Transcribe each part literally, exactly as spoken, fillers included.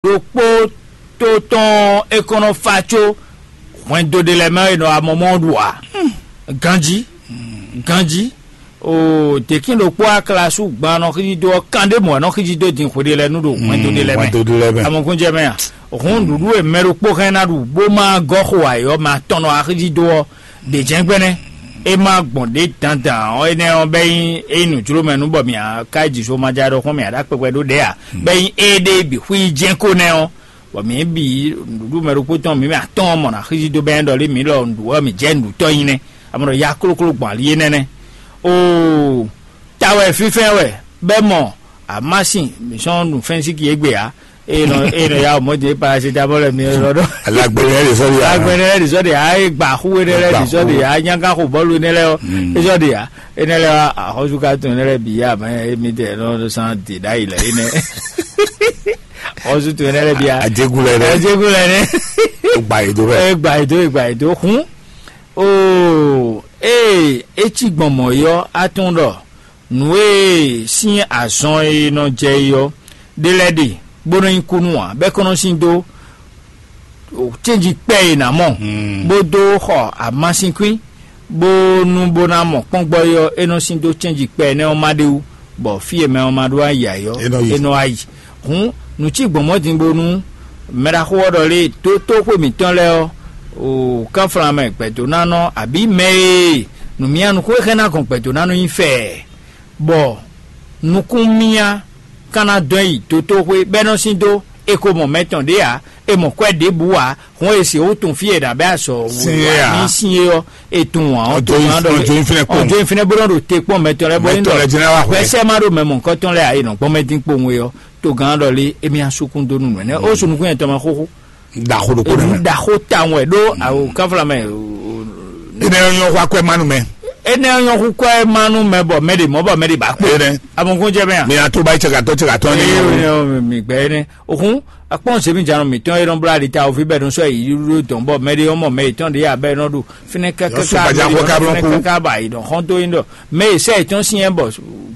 ɖokpó tó tɔn é kɔn nɔ fa có hwɛndo ɖé lɛ́ɛ mɛ e nɔ amɔmɔ ɖu ǎ. Ganjí, ganjí, o dèkín ɖokpó aklasu gban nɔ xíjí dó ɔ́, kan ɖé mɔ̌ nɔ xíjí dó din xwe ɖé lɛ́ɛ nú ɖo hwɛndo ɖé lɛ́ɛ mɛ. Hwɛndo ɖé lɛ́ɛ mɛ. Amɔkúnjɛ mɛ a? Hǔn nǔɖuɖu e mɛ ɖokpó hɛn ná ɖu bó má gɔ́ xo ayǐ ɔ́, ma tɔn nɔ axíjí dó ɔ́, ɖě jɛ́n gbɛ́nɛ́. É má gbɔn ɖě dandan ɔ́, énɛ́ ɔ́ bɛ́ nyí é nyí nǔjlómɛ nú bɔ mǐ ka ji so ma ja ɖɔxɔ́n mǐ ɖo akpɛkpɛ ɖó ɖě ǎ. Bɛ́ nyí éɖée bǐ xwí yi jɛ́n ko nɛ́ ɔ́, bɔ mǐ bǐ nǔɖuɖu mɛ ɖokpó tɔn mǐ mɛ atɔ́ɔ́n mɔ nǎ xízí dó bɛ́ ɖɔ lé mǐ lɔ nǔɖuɖu ɔ́ mǐ jɛ nǔɖutɔ́ nyi nɛ́. A mɔ ɖɔ ya klókló gbɔn ali énɛ́ nɛ́. Oo, ta wɛ fínfɛ́n wɛ bɛ́ mɔ amásin mǐ sɔ́ ɖu fɛ́nsíki égbé ǎ. Eye nɔ eye nɔ ya mɔ dě paracetamol mi lɔ ɖɔ. Alagbɛnɛ yɛ de sɔli ya. Alagbɛnɛ yɛ de sɔli ya, e gba xu enɛ lɛ de sɔli ya, nyanga xo bɔlu enɛ lɛ ɔ, e sɔli ya, enɛ lɛ wa axɔsu ka tun enɛ lɛ bi ya mɛ emi tɛ nɔ san de da yi lɛ enɛ. Axɔsu tun enɛ lɛ bi ya. Adegu lɛ dɛ. Adegu lɛ nɛ. O gba yi do bɛ. E gba yi do, e gba yi do hun. Oo, ee, etsi gbɔn mɔ yɔ atún ɖɔ nǔ e sín azɔn e nɔ jɛ é ɔ́, ɖé lɛ́ɛ ɖe, bó nɔ́ nyí kúnú ǎ, bɔ é kɔn nɔ sin dó cénji kpɛ́ e nǎ mɔ, bó dó xɔ amásinkwín, bó nú bó ná mɔ kpɔ́ngbɔ́ é ɔ́, é nɔ sin dó cénji kpɛ́ énɛ́ ɔ́ má ɖé wú, bɔ fí e mɛ ɔ́ ma ɖó ayi ǎ é ɔ́, É nɔ yi. É nɔ wá yi. Hǔn nǔ cí gbɔn mɔ̌ din bónú mɛɖaxó ɔ́ ɖɔ lé dótóxwé mǐtɔn lɛ́ɛ ɔ́, o kánflán mɛ gbɛ̌dónánɔ abǐ mɛ e nǔmyánukún e xɛ́ ná gɔn gbɛ̌dónánɔ nyi fɛɛ, bɔ nukún myá ka ná dɔn yi dótóxwé bɔ é nɔ sín dó, è ko mɔ mɛ tɔn ɖě ǎ, è mɔ kwɛ́ ɖěbǔ ǎ, hɔn è sixú tunwun fí e è nǎ bɛ́ azɔ̌ Sin é ǎ. Ní sin é ɔ́, è tunwun ǎ, Ɔjó tó gán ɖɔ ɔjó nyí fínɛ́ kpowun. Ɔjó nyí fínɛ́ bó nɔ ɖo te kpɔ́n mɛ tɔn lɛ́ɛ bɔ Mɛ tɔn lɛ́ɛ jɛ́n ná wá hwɛ. Gbɛsɛ má ɖo mɛ mɔ̌hunkɔtɔn lɛ́ɛ ǎ, è nɔ gbɔn mɛ dín kpowun é ɔ́, tó gán ɖɔ lé émí á súkún dó nú nǔ ɛnɛ́ ó sunukún yɛn tɔn mɛ xóxó. Ɖaxó ɖokpó nɛ́ mɛ. Ɖaxó tawun wɛ ɖó awo káfla mɛ. Énɛ́ ɔ́ nyɔ́ xó akwɛ́ má nú mɛ. Énɛ́ ɔ́ nyɔ́ xú kwɛ́ má nú mɛ bɔ mɛ ɖě mɔ bɔ mɛ ɖě bá kpé. Énɛ́. Amɔgún jẹ́ mɛ a? Mi ato ba yi cɛ ka tɔ cɛ ka tɔ ni. Ee, mi gbɛ énɛ́. Òkun akpɔn zemi janu mǐtɔn e nɔ blá ɖi ta ovi bɛ nɔ sɔ yi ɖo dɔn bɔ mɛ ɖe ɔmɔ mɛ yetɔn ɖe ya bɛ nɔ ɖo fínɛ kaka Yɔ sɔ gbaja xɔ ka blɔ fínɛ ku. Kaka ba yi nɔ xɔn to yi nɔ mɛ yi sɛ yetɔn si yɛn bɔ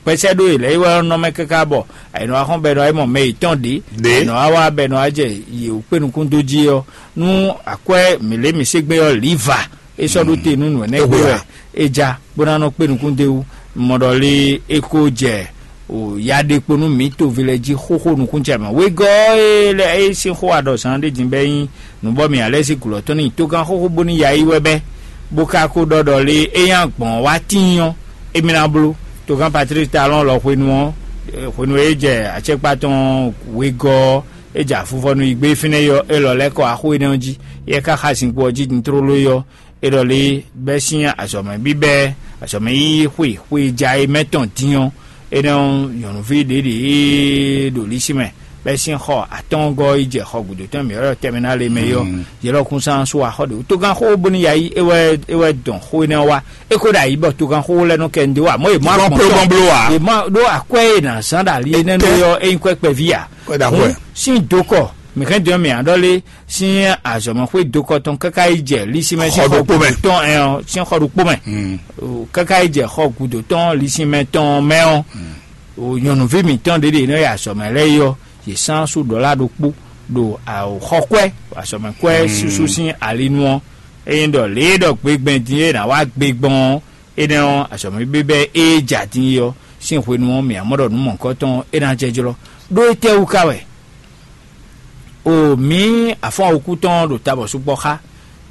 gbɛsɛ ɖo yi lɛ yi wɛ nɔ mɛ kaka bɔ ayi nɔ axɔn bɛ nɔ ayi mɔ mɛ yetɔn ɖe Ɖe. Ayi nɔ awa bɛ nɔ ajɛ yi o kpe nukun do ji yɔ nu akwɛ mi le mi se gbe yɔ liva e sɔ ɖo te nu nɔ ne Ewe gbe ya. Wɛ e ja bó ná nɔ kpe nukun de wu mɔ ɖɔ le e ko jɛ o ya ɖe kpo nú mǐ toví lɛ́ɛ jí xóxó nukúnjɛmɛ. Wegɔ́ e lɛ́ é sín xó aɖɔzán ɖé din bɛ́ nyí nǔ bɔ mǐ alɛ́ sí gǔlɔ tɔn ní togán xóxó bónú ya yi wɛ bɛ́, bó ka ko ɖɔ ɖɔ lé é nyí agbɔ̌n wá tíin ɔ́, émí ná bló. Togán Patlík Talɔ́n lɔ hwenu ɔ́, hwenu e é jɛ acɛkpá tɔn wegɔ́ ɔ́, é jɛ afuvɔ́ nú yi gbé fínɛ́ yi ɔ́, é lɔ lɛ́ kɔ axó énɛ́ ɔ́ jí, é ka xa zinkpo ɔ́ jí din tlóló yi ɔ́, é ɖɔ lé bɛ́ sín azɔ̌mɛ bíbɛ́ azɔ̌mɛ yíyí xwe xwe ja e mɛ tɔn din ɔ́, énɛ́ ɔ́ nyɔ̌nuví ɖě ɖě e ɖo lísí mɛ bɛ́ sín xɔ atɔ́ɔ́ngɔ́ yi jɛ xɔ gǔdo tɔn mǐ ɔ́ tɛnmɛ ná le mɛ é ɔ́, yě lɔ kún sán sú axɔ́ ɖě wú. Togán xó bónú ya yí é wɛ é wɛ dɔn xó énɛ́ ɔ́ wá. É ko ɖo ayǐ bɔ togán xó lɛ́ɛ nɔ kɛ ndé wá mɔ̌ è mɔ Gɔn agbɔn plé tɔn. Gɔn bló wá. È mɔ ɖó akwɛ́ e nǎ zán ɖo ali énɛ́ nú é ɔ́, é nyí kwɛ́ kpɛví ǎ. Kwɛ́ ɖo akwɛ́. Hǔn sín dokɔ mǐ hɛn dɔn mǐ aɖɔ lé sín azɔ̌mɛxwé dokɔ tɔn káká yi jɛ lísímɛ sín Xɔ ɖokpó mɛ. Tɔn ɛ ɔ́ sín xɔ ɖokpó mɛ. O, káká yi jɛ xɔ gǔdo tɔn lísímɛ tɔn mɛ ɔ́, o nyɔ̌nuví mǐtɔn ɖě ɖě nɔ yi azɔ̌mɛ lɛ́ɛ yi ɔ́, yě sán sú ɖɔ̌la ɖokpó ɖo xɔkwɛ́ azɔ̌mɛkwɛ́ susu sín alinu ɔ́. Ényí ɖɔ lě e ɖɔ gbegbɛn din e è nǎ wá gbe gbɔn ɔ́, énɛ́ ɔ́, azɔ̌mɛ bíbɛ́ e ja din é ɔ́ sín hwenu ɔ́, mǐ ná mɔ ɖɔ nǔ mɔ̌hunkɔtɔn ɔ́, é ná jɛ jlɔ́. Ɖó étɛ́wú ka wɛ? O mǐ afɔ́n wokú tɔn ɖo tabɔ sukpɔ́ xá.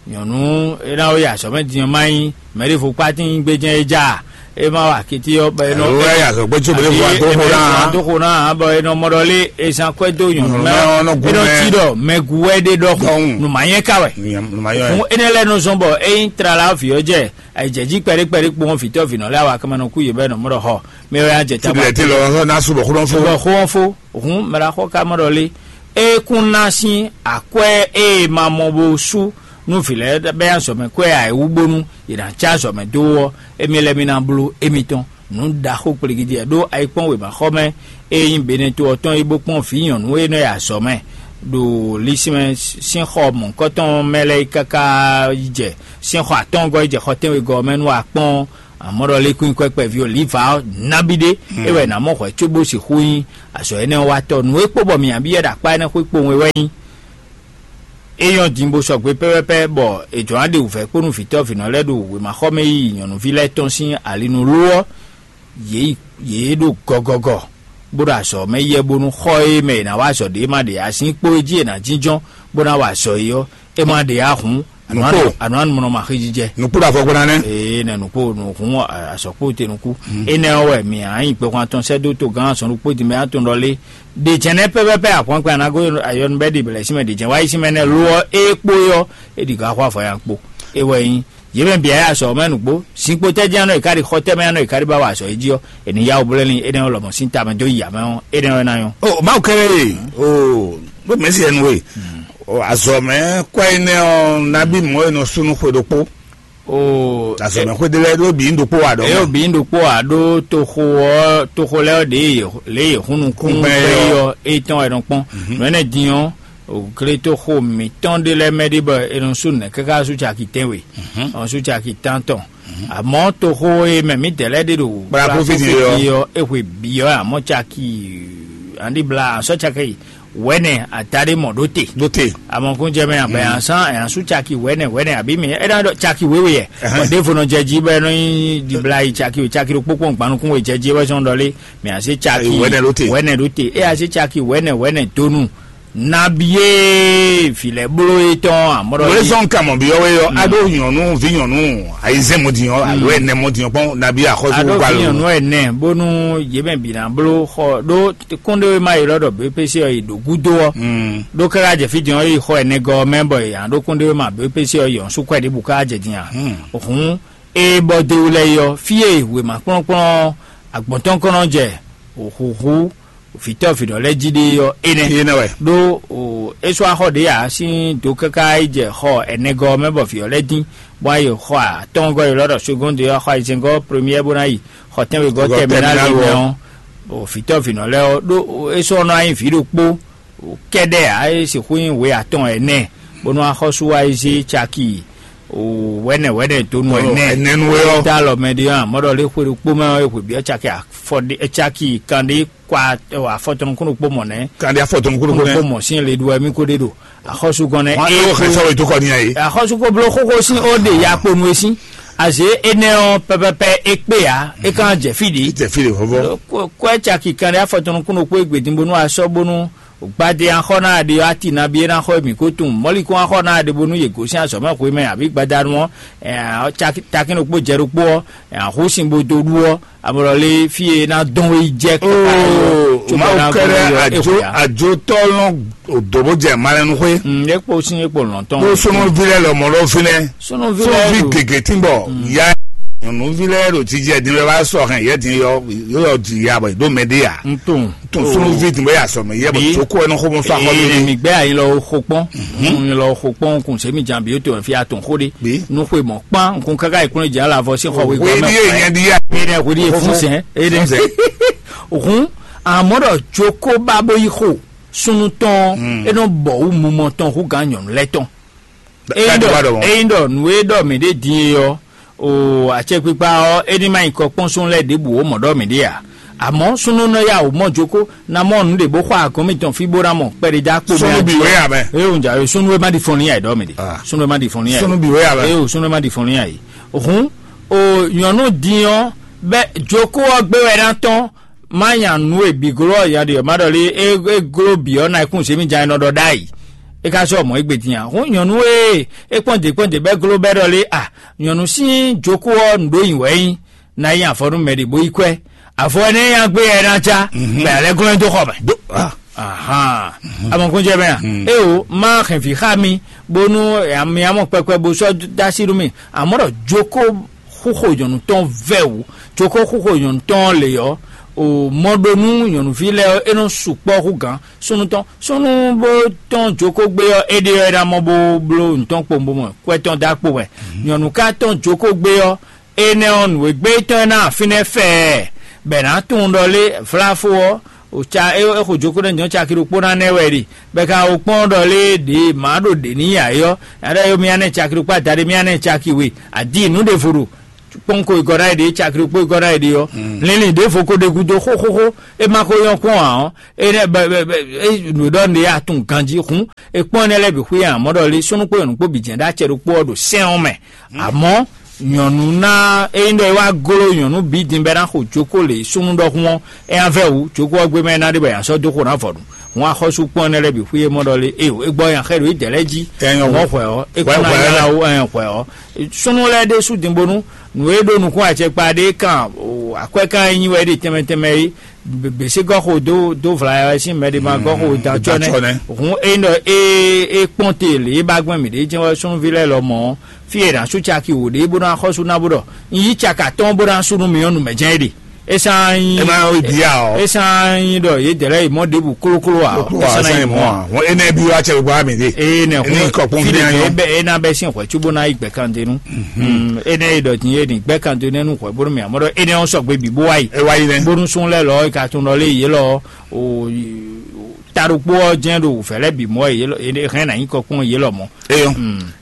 Nyɔ̌nu é ná wó yi azɔ̌ mɛ din ɔ́ má nyí mɛ̌ɖěvo kpátín gbéjɛ́n é já a? É má wa akití ɔ́ bɔ é nɔ Alo é yi azɔ̌ gbé tso běɖé vo adó xo ná a? Adó xo ná a bɔ é nɔ mɔ ɖɔ lé é zán kwɛ́ dó nyɔ̌nu mɛ Nyɔ̌nu mɛ ɔ́ nɔ gún ɔ́. É nɔ mɛ. Cí ɖɔ mɛ gu wɛ ɖé ɖɔhun Ɖɔhun. Nǔ má nyɛ ká wɛ. Nǔ má nyɔ Fún wɛ. Énɛ́ lɛ́ɛ nɔ zɔ́n bɔ é nyí tlala ɔ́ vǐ ɔ́ jɛ ayǐjɛ̌jí kpɛɖé kpɛɖé kpowun vǐtɔ́ vǐnɔ lɛ́ɛ awa kɛmɛ nɔ kú yě bɛ nɔ mɔ ɖɔ xɔ mɛ wɛ á jɛ Tí tábà. Bìlẹ̀ tí lɔ ná sùbọ̀ xó lɔ́n fó. Bɔ xó ɔ́ fó hǔn mɛ ɖaxó ka mɔ ɖɔ lé. É kún ná sín akwɛ́ e ma mɔ bó sú nú vǐ lɛ́ɛ bɛ́ azɔ̌ mɛ kwɛ́ ǎ é wú bónú yě ná cá azɔ̌ mɛ dó ɔ́, émí lɛ́ɛ mí ná bló émítɔn. Nǔ ɖaxó kpligidi wɛ ɖó ayikpɔ́n wěmaxɔmɛ e nyí Beneto ɔ́ tɔn yi bó kpɔ́n vǐ nyɔ̌nu e nɔ yi azɔ̌ mɛ ɖo lisínmɛ sín xɔ mɔ̌hunkɔtɔn mɛ lɛ́ɛ yi káká yi jɛ sín xɔ atɔ́ɔ́ngɔ́ yi jɛ xɔ tɛ́nwegɔ́ ɔ́ mɛ nú akpɔ́n Amɔ́ ɖɔ lé kún nyí kwɛ́kpɛví o, lǐvǎ ɔ́, nabí ɖé, é wɛ è nǎ mɔ hwɛ̌ cóbó sixú nyí azɔ̌ énɛ́ ɔ́ watɔ́. Nǔ e kpó bɔ mǐ nǎ byɔ́ ɖo akpá énɛ́ xwé kpowun é wɛ nyí é nyɔ́ din bó sɔgbe pɛ́pɛ́pɛ́, bɔ è jlǒ ná ɖe wǔvɛ́ kpó nú vǐtɔ́ vǐnɔ lɛ́ɛ ɖo wěmaxɔmɛ yiyi nyɔ̌nuví lɛ́ɛ tɔn sín ali nú ló ɔ́, yě yi yě ɖo gɔgɔgɔ, bó ɖo azɔ̌ mɛ yɛ bónú xɔ e mɛ è nǎ wa azɔ̌ ɖé ma ɖe azín kpó e jí è nǎ jínjɔ́n bó ná wa azɔ̌ é ɔ́, é ma ɖe ǎ hǔn, Nǔkpó. Ànú ànúmɔnɔ ma xí jijɛ. Nǔkpó ɖo afɔ kpó ná nɛ́. Ee, nɛ nukpó nukún azɔkpó te nukú. Enɛ ɔ́ wɛ mì a nyi kpɛkun atɔn sɛ́ dó togán azɔn ɖokpó din mɛ atɔn ɖɔ lé. Ɖe jɛnɛ pɛpɛpɛ ahwankpɛ anago ayɔnubɛ ɖi bɛlɛ símɛ ɖe jɛn wáyé símɛ nɛ lo ɔ́ é kpó é ɔ́, é ɖi gǎ xó afɔ ya kpo. É wɛ nyí yě mɛ bǐ ayé azɔ mɛ nukpó. Zinkpo tɛ́ jɛ́n anɔ è ká ɖi xɔ tɛ́ mɛ anɔ è ká ɖi ba wa azɔ é jí ɔ́, è ní yá wǔ blɛ́ lin énɛ́ ɔ́ lɔmɔ̌ sín tamɛ dó yi amɛ ɔ́, énɛ́ ɔ́ ná nyɔ́. O Mawu kɛ́ɖɛ́ e o bó mɛ̌si ɛnu e o azɔ̌ mɛ kɔ́ énɛ́ ɔ́ nabí mɔ̌ e nɔ sú nú xwe ɖokpó. Oo, azɔ̌ mɛ xwedó lɛ́ɛ ɖó bǐ ɖokpó wa ɖɔ. Eye bǐ ɖokpó wa ɖó toxo ɔ́, toxo lɛ́ɛ ɔ́ ɖě lě yě hún nukún gbɛ́ ɔ́, é tɔn wɛ nɔ kpɔ́n. Nǔ énɛ́ din ɔ́, gletoxo mǐtɔn ɖé lɛ́ɛ mɛ ɖé bɔ è nɔ sú nɛ̌ káká sú caki tɛ́nwe, ɔn sú caki tántɔn. Amɔ̌ toxo e mɛ mǐdɛɛ lɛ́ɛ ɖe ɖo Kplá kófí din ɔ́. Ɔ́, é hwe bǐ ɔ́, amɔ̌ caki aɖíbla asɔ́ caki wɛ̌nɛ adaɖé mɔ ɖó te. Ɖó te. Amɔkúnjɛ mɛ abɛ ansan ɛn asú caki wɛ̌nɛ wɛ̌nɛ àbí mi é ná ɖɔ caki wéwe yɛ. Bɔn ɖěvo nɔ jɛ jí bɔ é nɔ nyi ɖibla yi caki o caki ɖokpó kpɔn gbanukún we jɛ jí é wɛ zɔn ɖɔ lé. Mɛ asé caki Wɛ̌nɛ ɖó te. Wɛ̌nɛ ɖó te é asé caki wɛ̌nɛ wɛ̌nɛ donu. Nabiye filɛ blo etɔn amɔɖɔ. Wòlé zɔn kamɔ bi ɔwɛ yɔ ado nyɔnu vi nyɔnu ayizɛn mɔdi yɔ alo ɛnɛ mɔdi yɔ kpɔn nabi axɔsu Aɖo gba fi lo. Nyɔnu ɛnɛ bónú yě mɛ bǐ ná bló xɔ ɖó kúnɖéwéma e lɔ ɖɔ běpési ɔ́ yi ɖo gúdo ɔ́. Ɖó káká jɛ fí din ɔ́ yi xɔ ɛnɛgɔ ɔ́ mɛ bɔ yě ná ɖó kúnɖéwéma běpési ɔ́ yi ɔn sú kwɛɖé bú ká jɛ din a. Hǔn ée bɔ déwu lɛ́ɛ yi ɔ́, fí e wěma kplɔ́nkplɔ́n agbɔ̌ntɔ́nkɔ́nɔ jɛ hǔhú vǐtɔ́ vǐɖɔ lɛ́ɛ jí ɖe ɔ́ énɛ́. Énɛ́ wɛ. Ɖó é sɔ́ axɔ ɖě ǎ sín do káká yi jɛ xɔ ɛnɛgɔ́ ɔ́ mɛ bɔ vǐ ɔ́ lɛ́ɛ dín, bɔ ayi xɔ atɔ́ngɔ́ yi lɔ ɖɔ segɔ́nde ɔ́, xɔ ayizɛ́ngɔ́ première bó ná yi xɔ tɛ́nwegɔ́ Xɔ tɛminali tɛminali mɛ ɔ́. Ɔ́, vǐtɔ́ vǐnɔ lɛ́ɛ ɔ́ ɖó é sɔ́ nɔ anyi vǐ ɖokpó kɛ́ɖɛ́ ǎ, é sixú nyí hwe atɔn ɛnɛ, bónú axɔ́sú wá yi zé caki wɛ̌nɛ wɛ̌nɛ donu ɛnɛ. Ɛnɛ nú we ɔ́. Tá lɔ mɛ ɖé ɔ́, amɔ̌ ɖɔ lé xwe ɖokpó mɛ ɔ́, é hwe byɔ́ caki afɔ ɖé caki kanɖé kwa afɔtɔn nukún ɖokpó mɔ̌ nɛ́. Kanɖé afɔtɔn nukún ɖokpó nɛ́. Kpó mɔ̌ sín le ɖu wɛ mí kó ɖe ɖo axɔ́súgɔ́n nɛ́. Wọ́n á é ló xɛ sɔ́ wɛ tó kɔ ní ayé. Axɔ́sú kó bló xóxó sín ó ɖe ya kponu e sín. Azě énɛ́ ɔ́ pɛpɛpɛ é kpé ǎ, é kán jɛ fí ɖě. Jɛ fí ɖě vɔvɔ. Kwɛ caki kanɖé afɔtɔn nukún ɖokpó é gbedin bónú asɔ́ bónú gbadé axɔ ná ɖe ɔ́ ati nabi é ná xɔ mǐ kó tunwun mɔ̌likún axɔ ná ɖe bónú yě gosín azɔ̌ mɛ xwé mɛ abǐ gbadanu ɔ́, takín ɖokpó jɛ ɖokpó ɔ́, ahú sin bo dó ɖu ɔ́, amɔlɔlé fí e ná dɔn wé yi jɛ kaka. Oo, Mawu kɛɖɛ ajo ajotɔ lɔn odo bó jɛ malɛnu xwé. Mm, é kpo sín é kpo lɔn tɔn. Bó súnmọ́ vi lɛ lɔmọ lɔ fi lɛ. Súnmọ́ vi lɛ súnmọ́ vi lɔ. Gègé tí ń bọ̀ ya nyɔnu vi lɛ ɖo jíjẹ dín bɛ bá sɔ hɛn yɛ dín yɔ yɔ di ya bɔ ìdó mɛ dé ya. N tún. Tún súnmọ́ vi tún bɛ yà sọ mɛ yɛ bɔ. Bí. Tó kó ẹnu xó mọ sọ akọ ee mi. Mi gbɛ ayi lɔ xo kpɔn. N lɔ xo kpɔn kun sɛmi jan bi o tó fi atún xó de. Bí. Nu xwe mɔ kpan kun kaka ìkúnlẹ̀ jẹ́ alavɔ sí xɔ wé. Wé gbɔmɛ ní èèyàn di yá. Ene hwe di fún sɛn ene. Fún sɛn. Òhun àmọ́ ɖɔ joko bá bó yí xo súnú tɔn. Enɔ bɔ wú mumɔ tɔn hú gan nyɔnu lɛ tɔn. Eyin ɖɔ eyin ɖɔ nǔ e ɖɔ mǐ ɖe din e ɔ́, o acɛkpikpa ɔ́ é ní ma nyí kɔ kpɔ́n súnnu lɛ́ɛ ɖěbǔ ó mɔ ɖɔ mǐ ɖe ǎ. Àmọ́ súnnu nɔ ya wǒ mɔ joko ná mɔ nǔ ɖě bó xɔ agɔ̌n mitɔn fí bó ná mɔ kpɛɖé dó akpo mɛ. Súnnu bǐ wé ǎ mɛ. Eye òun jà súnnu e má ɖi fɔn ní àyè ɖɔ mǐ ɖe. Súnnu e má ɖi fɔn ní àyè. Súnnu bǐ wé ǎ mɛ. Eye o súnnu e má ɖi fɔn ní àyè. Òhun o nyɔ̌nu din ɔ́ bɛ joko ɔ́ gbé wɛ ná tɔ́n má nya nǔ e bǐ gló ɔ́ nya ɖi ɔ́ má ɖɔ lé é gló bǐ ɔ́ ná kún zěmí jan e nɔ ɖɔ ɖ'ayǐ. É ka sɔ́ mɔ̌ égbé din ǎ. Hǔn nyɔ̌nu e é kpɔ́n dě kpɔ́n dě bɛ́ gló bɛ́ ɖɔ lé a nyɔ̌nu sín jokó ɔ́ nǔ ɖó nyi wɛ nyí ná nyi avɔ nú mɛ ɖě bó yi kwɛ́. Avɔ énɛ́ nya gbé ɛ ná cá bɛ alɛ glɔ́n dó xɔ mɛ. Ahan. Amɔkúnjɛ mɛ a? Eo má hɛn vǐ xá mi bónú mi amɔ kpɛkpɛ bó sɔ́ dó así nú mi. Amɔ̌ ɖɔ jokó xúxo nyɔ̌nu tɔn vɛ́ wǔ. Jokó xúxo nyɔ̌nu tɔn lě ɔ́, o mɔ ɖó nú nyɔ̌nuví lɛ́ɛ ɔ́, é nɔ sukpɔ́ hú gǎn súnnu tɔn. Súnnu bó tɔn jokó gbé ɔ́, é ɖe ɔ́ é ná mɔ bó bló nǔ tɔn kpowun bó mɔ kwɛ́ tɔn dó akpo wɛ. Nyɔ̌nu ka tɔn jokó gbé ɔ́, énɛ́ ɔ́, nǔ e gbé tɔn ɛ ná afínɛ́ fɛɛ, bɔ è nǎ tunwun ɖɔ lé vláfó ɔ́, o ca é xo jokó nɛ́ jɔ́n caki ɖokpó ná nɛ́ wɛ ɖe, bɔ è ka wo kpɔ́n ɖɔ lé ɖě mǎ ɖo ɖě n'i ǎ é ɔ́, nya ɖɔ é mía nɛ́ caki ɖokpó adaɖé mía nɛ́ caki we, adi nǔ ɖěvo ɖo kpɔ́nko e gɔ́ ná yi ɖe, cakri kpó e gɔ́ ná yi ɖe ɔ́, linlin ɖěvo ko ɖe gúdo xóxóxó, é ma ko nyɔ́ kpɔ́n ǎ ɔ́, é nɛ́ bɛ bɛ bɛ é nǔ ɖɔ nǔɖé ya tunwun ganjí hǔn, é kpɔ́n énɛ́ lɛ́ɛ bǐ xwí ǎ, mɔ̌ ɖɔ lé súnnu kpó nyɔ̌nu kpó bǐ jɛ́n ɖó acɛ ɖokpó ɔ́ ɖo sɛ́n ɔ́ mɛ. Amɔ̌ nyɔ̌nu ná ényí ɖɔ é wá gló nyɔ̌nu bǐ din bɛ́ ná xo jókó lě súnnu ɖɔhun ɔ́, é ná vɛ́ wǔ, jókó ɔ́ gbé mɛ é ná ɖe bɔ è nǎ sɔ́ dó xo ná vɔ ɖu. Hǔn axɔ́sú kpɔ́n énɛ́ lɛ́ɛ bǐ xwí é mɔ ɖɔ lé, éyo é gbɔ nya xɛ ɖo yi dɛ̌ lɛ́ɛ jí. Hǔn ɔ́ hwɛ ɔ́, é kún ná nyá lá wú, ɛn hwɛ ɔ́. Súnnu lɛ́ɛ ɖésú din bónú nǔ e ɖó nukún acɛkpa ɖé kan akwɛ́kan e nyi wɛ ɖe tɛnmɛ tɛnmɛ é, běsé gɔ́ xo dó dó vla wɛ sín mɛ ɖé ma gɔ́ xo dan cɔ́ nɛ́. Hǔn é ɖɔ é é kpɔ́n te lě é ba gbɛn mǐ ɖě jɛ́n wɛ súnnuví lɛ́ɛ lɔ mɔ̌, fí e è nǎ sú caki wǒ ɖe bó ná xɔ́sú ná bó ɖɔ un yí caka tɔn bó ná sú nú mi ɔ́, nǔ mɛ jɛ́n é ɖe. É sán nyí É ná yi bǐ ǎ ɔ́. É sán nyí ɖɔ yědɛɛ lɛ́ɛ yi mɔ ɖěbǔ klókló ǎ. Klókló ǎ, é sán nyí mɔ̌ ǎ. Hɔn énɛ́ bí wá cɛ gbá mi ɖe. Eye nɛ Énɛ́ hun kɔ kpɔ́n fí fínɛ́ ɖě nyɔ́. É bɛ é ná bɛ́ sín hwɛ̌ cóbó ná yi gbɛ̌ kan dó nú. Énɛ́ e ɖɔ din é ɖi gbɛ̌ kan dó nɛ́ nú hwɛ̌ bónú mì amɔ́ ɖɔ énɛ́ ɔ́ sɔgbe bǐ bó wá yi. É wá yi nɛ́. Bónú sún lɛ́ lɔ é ka tunwun ɖɔ lé yě lɔ o ta ɖokpó ɔ́ jɛ́n ɖo vɛ̌ lɛ́ bǐ mɔ wɛ yě lɔ é hɛn ná nyí kɔ kpɔ́n yě lɔ mɔ̌. Eyɔn.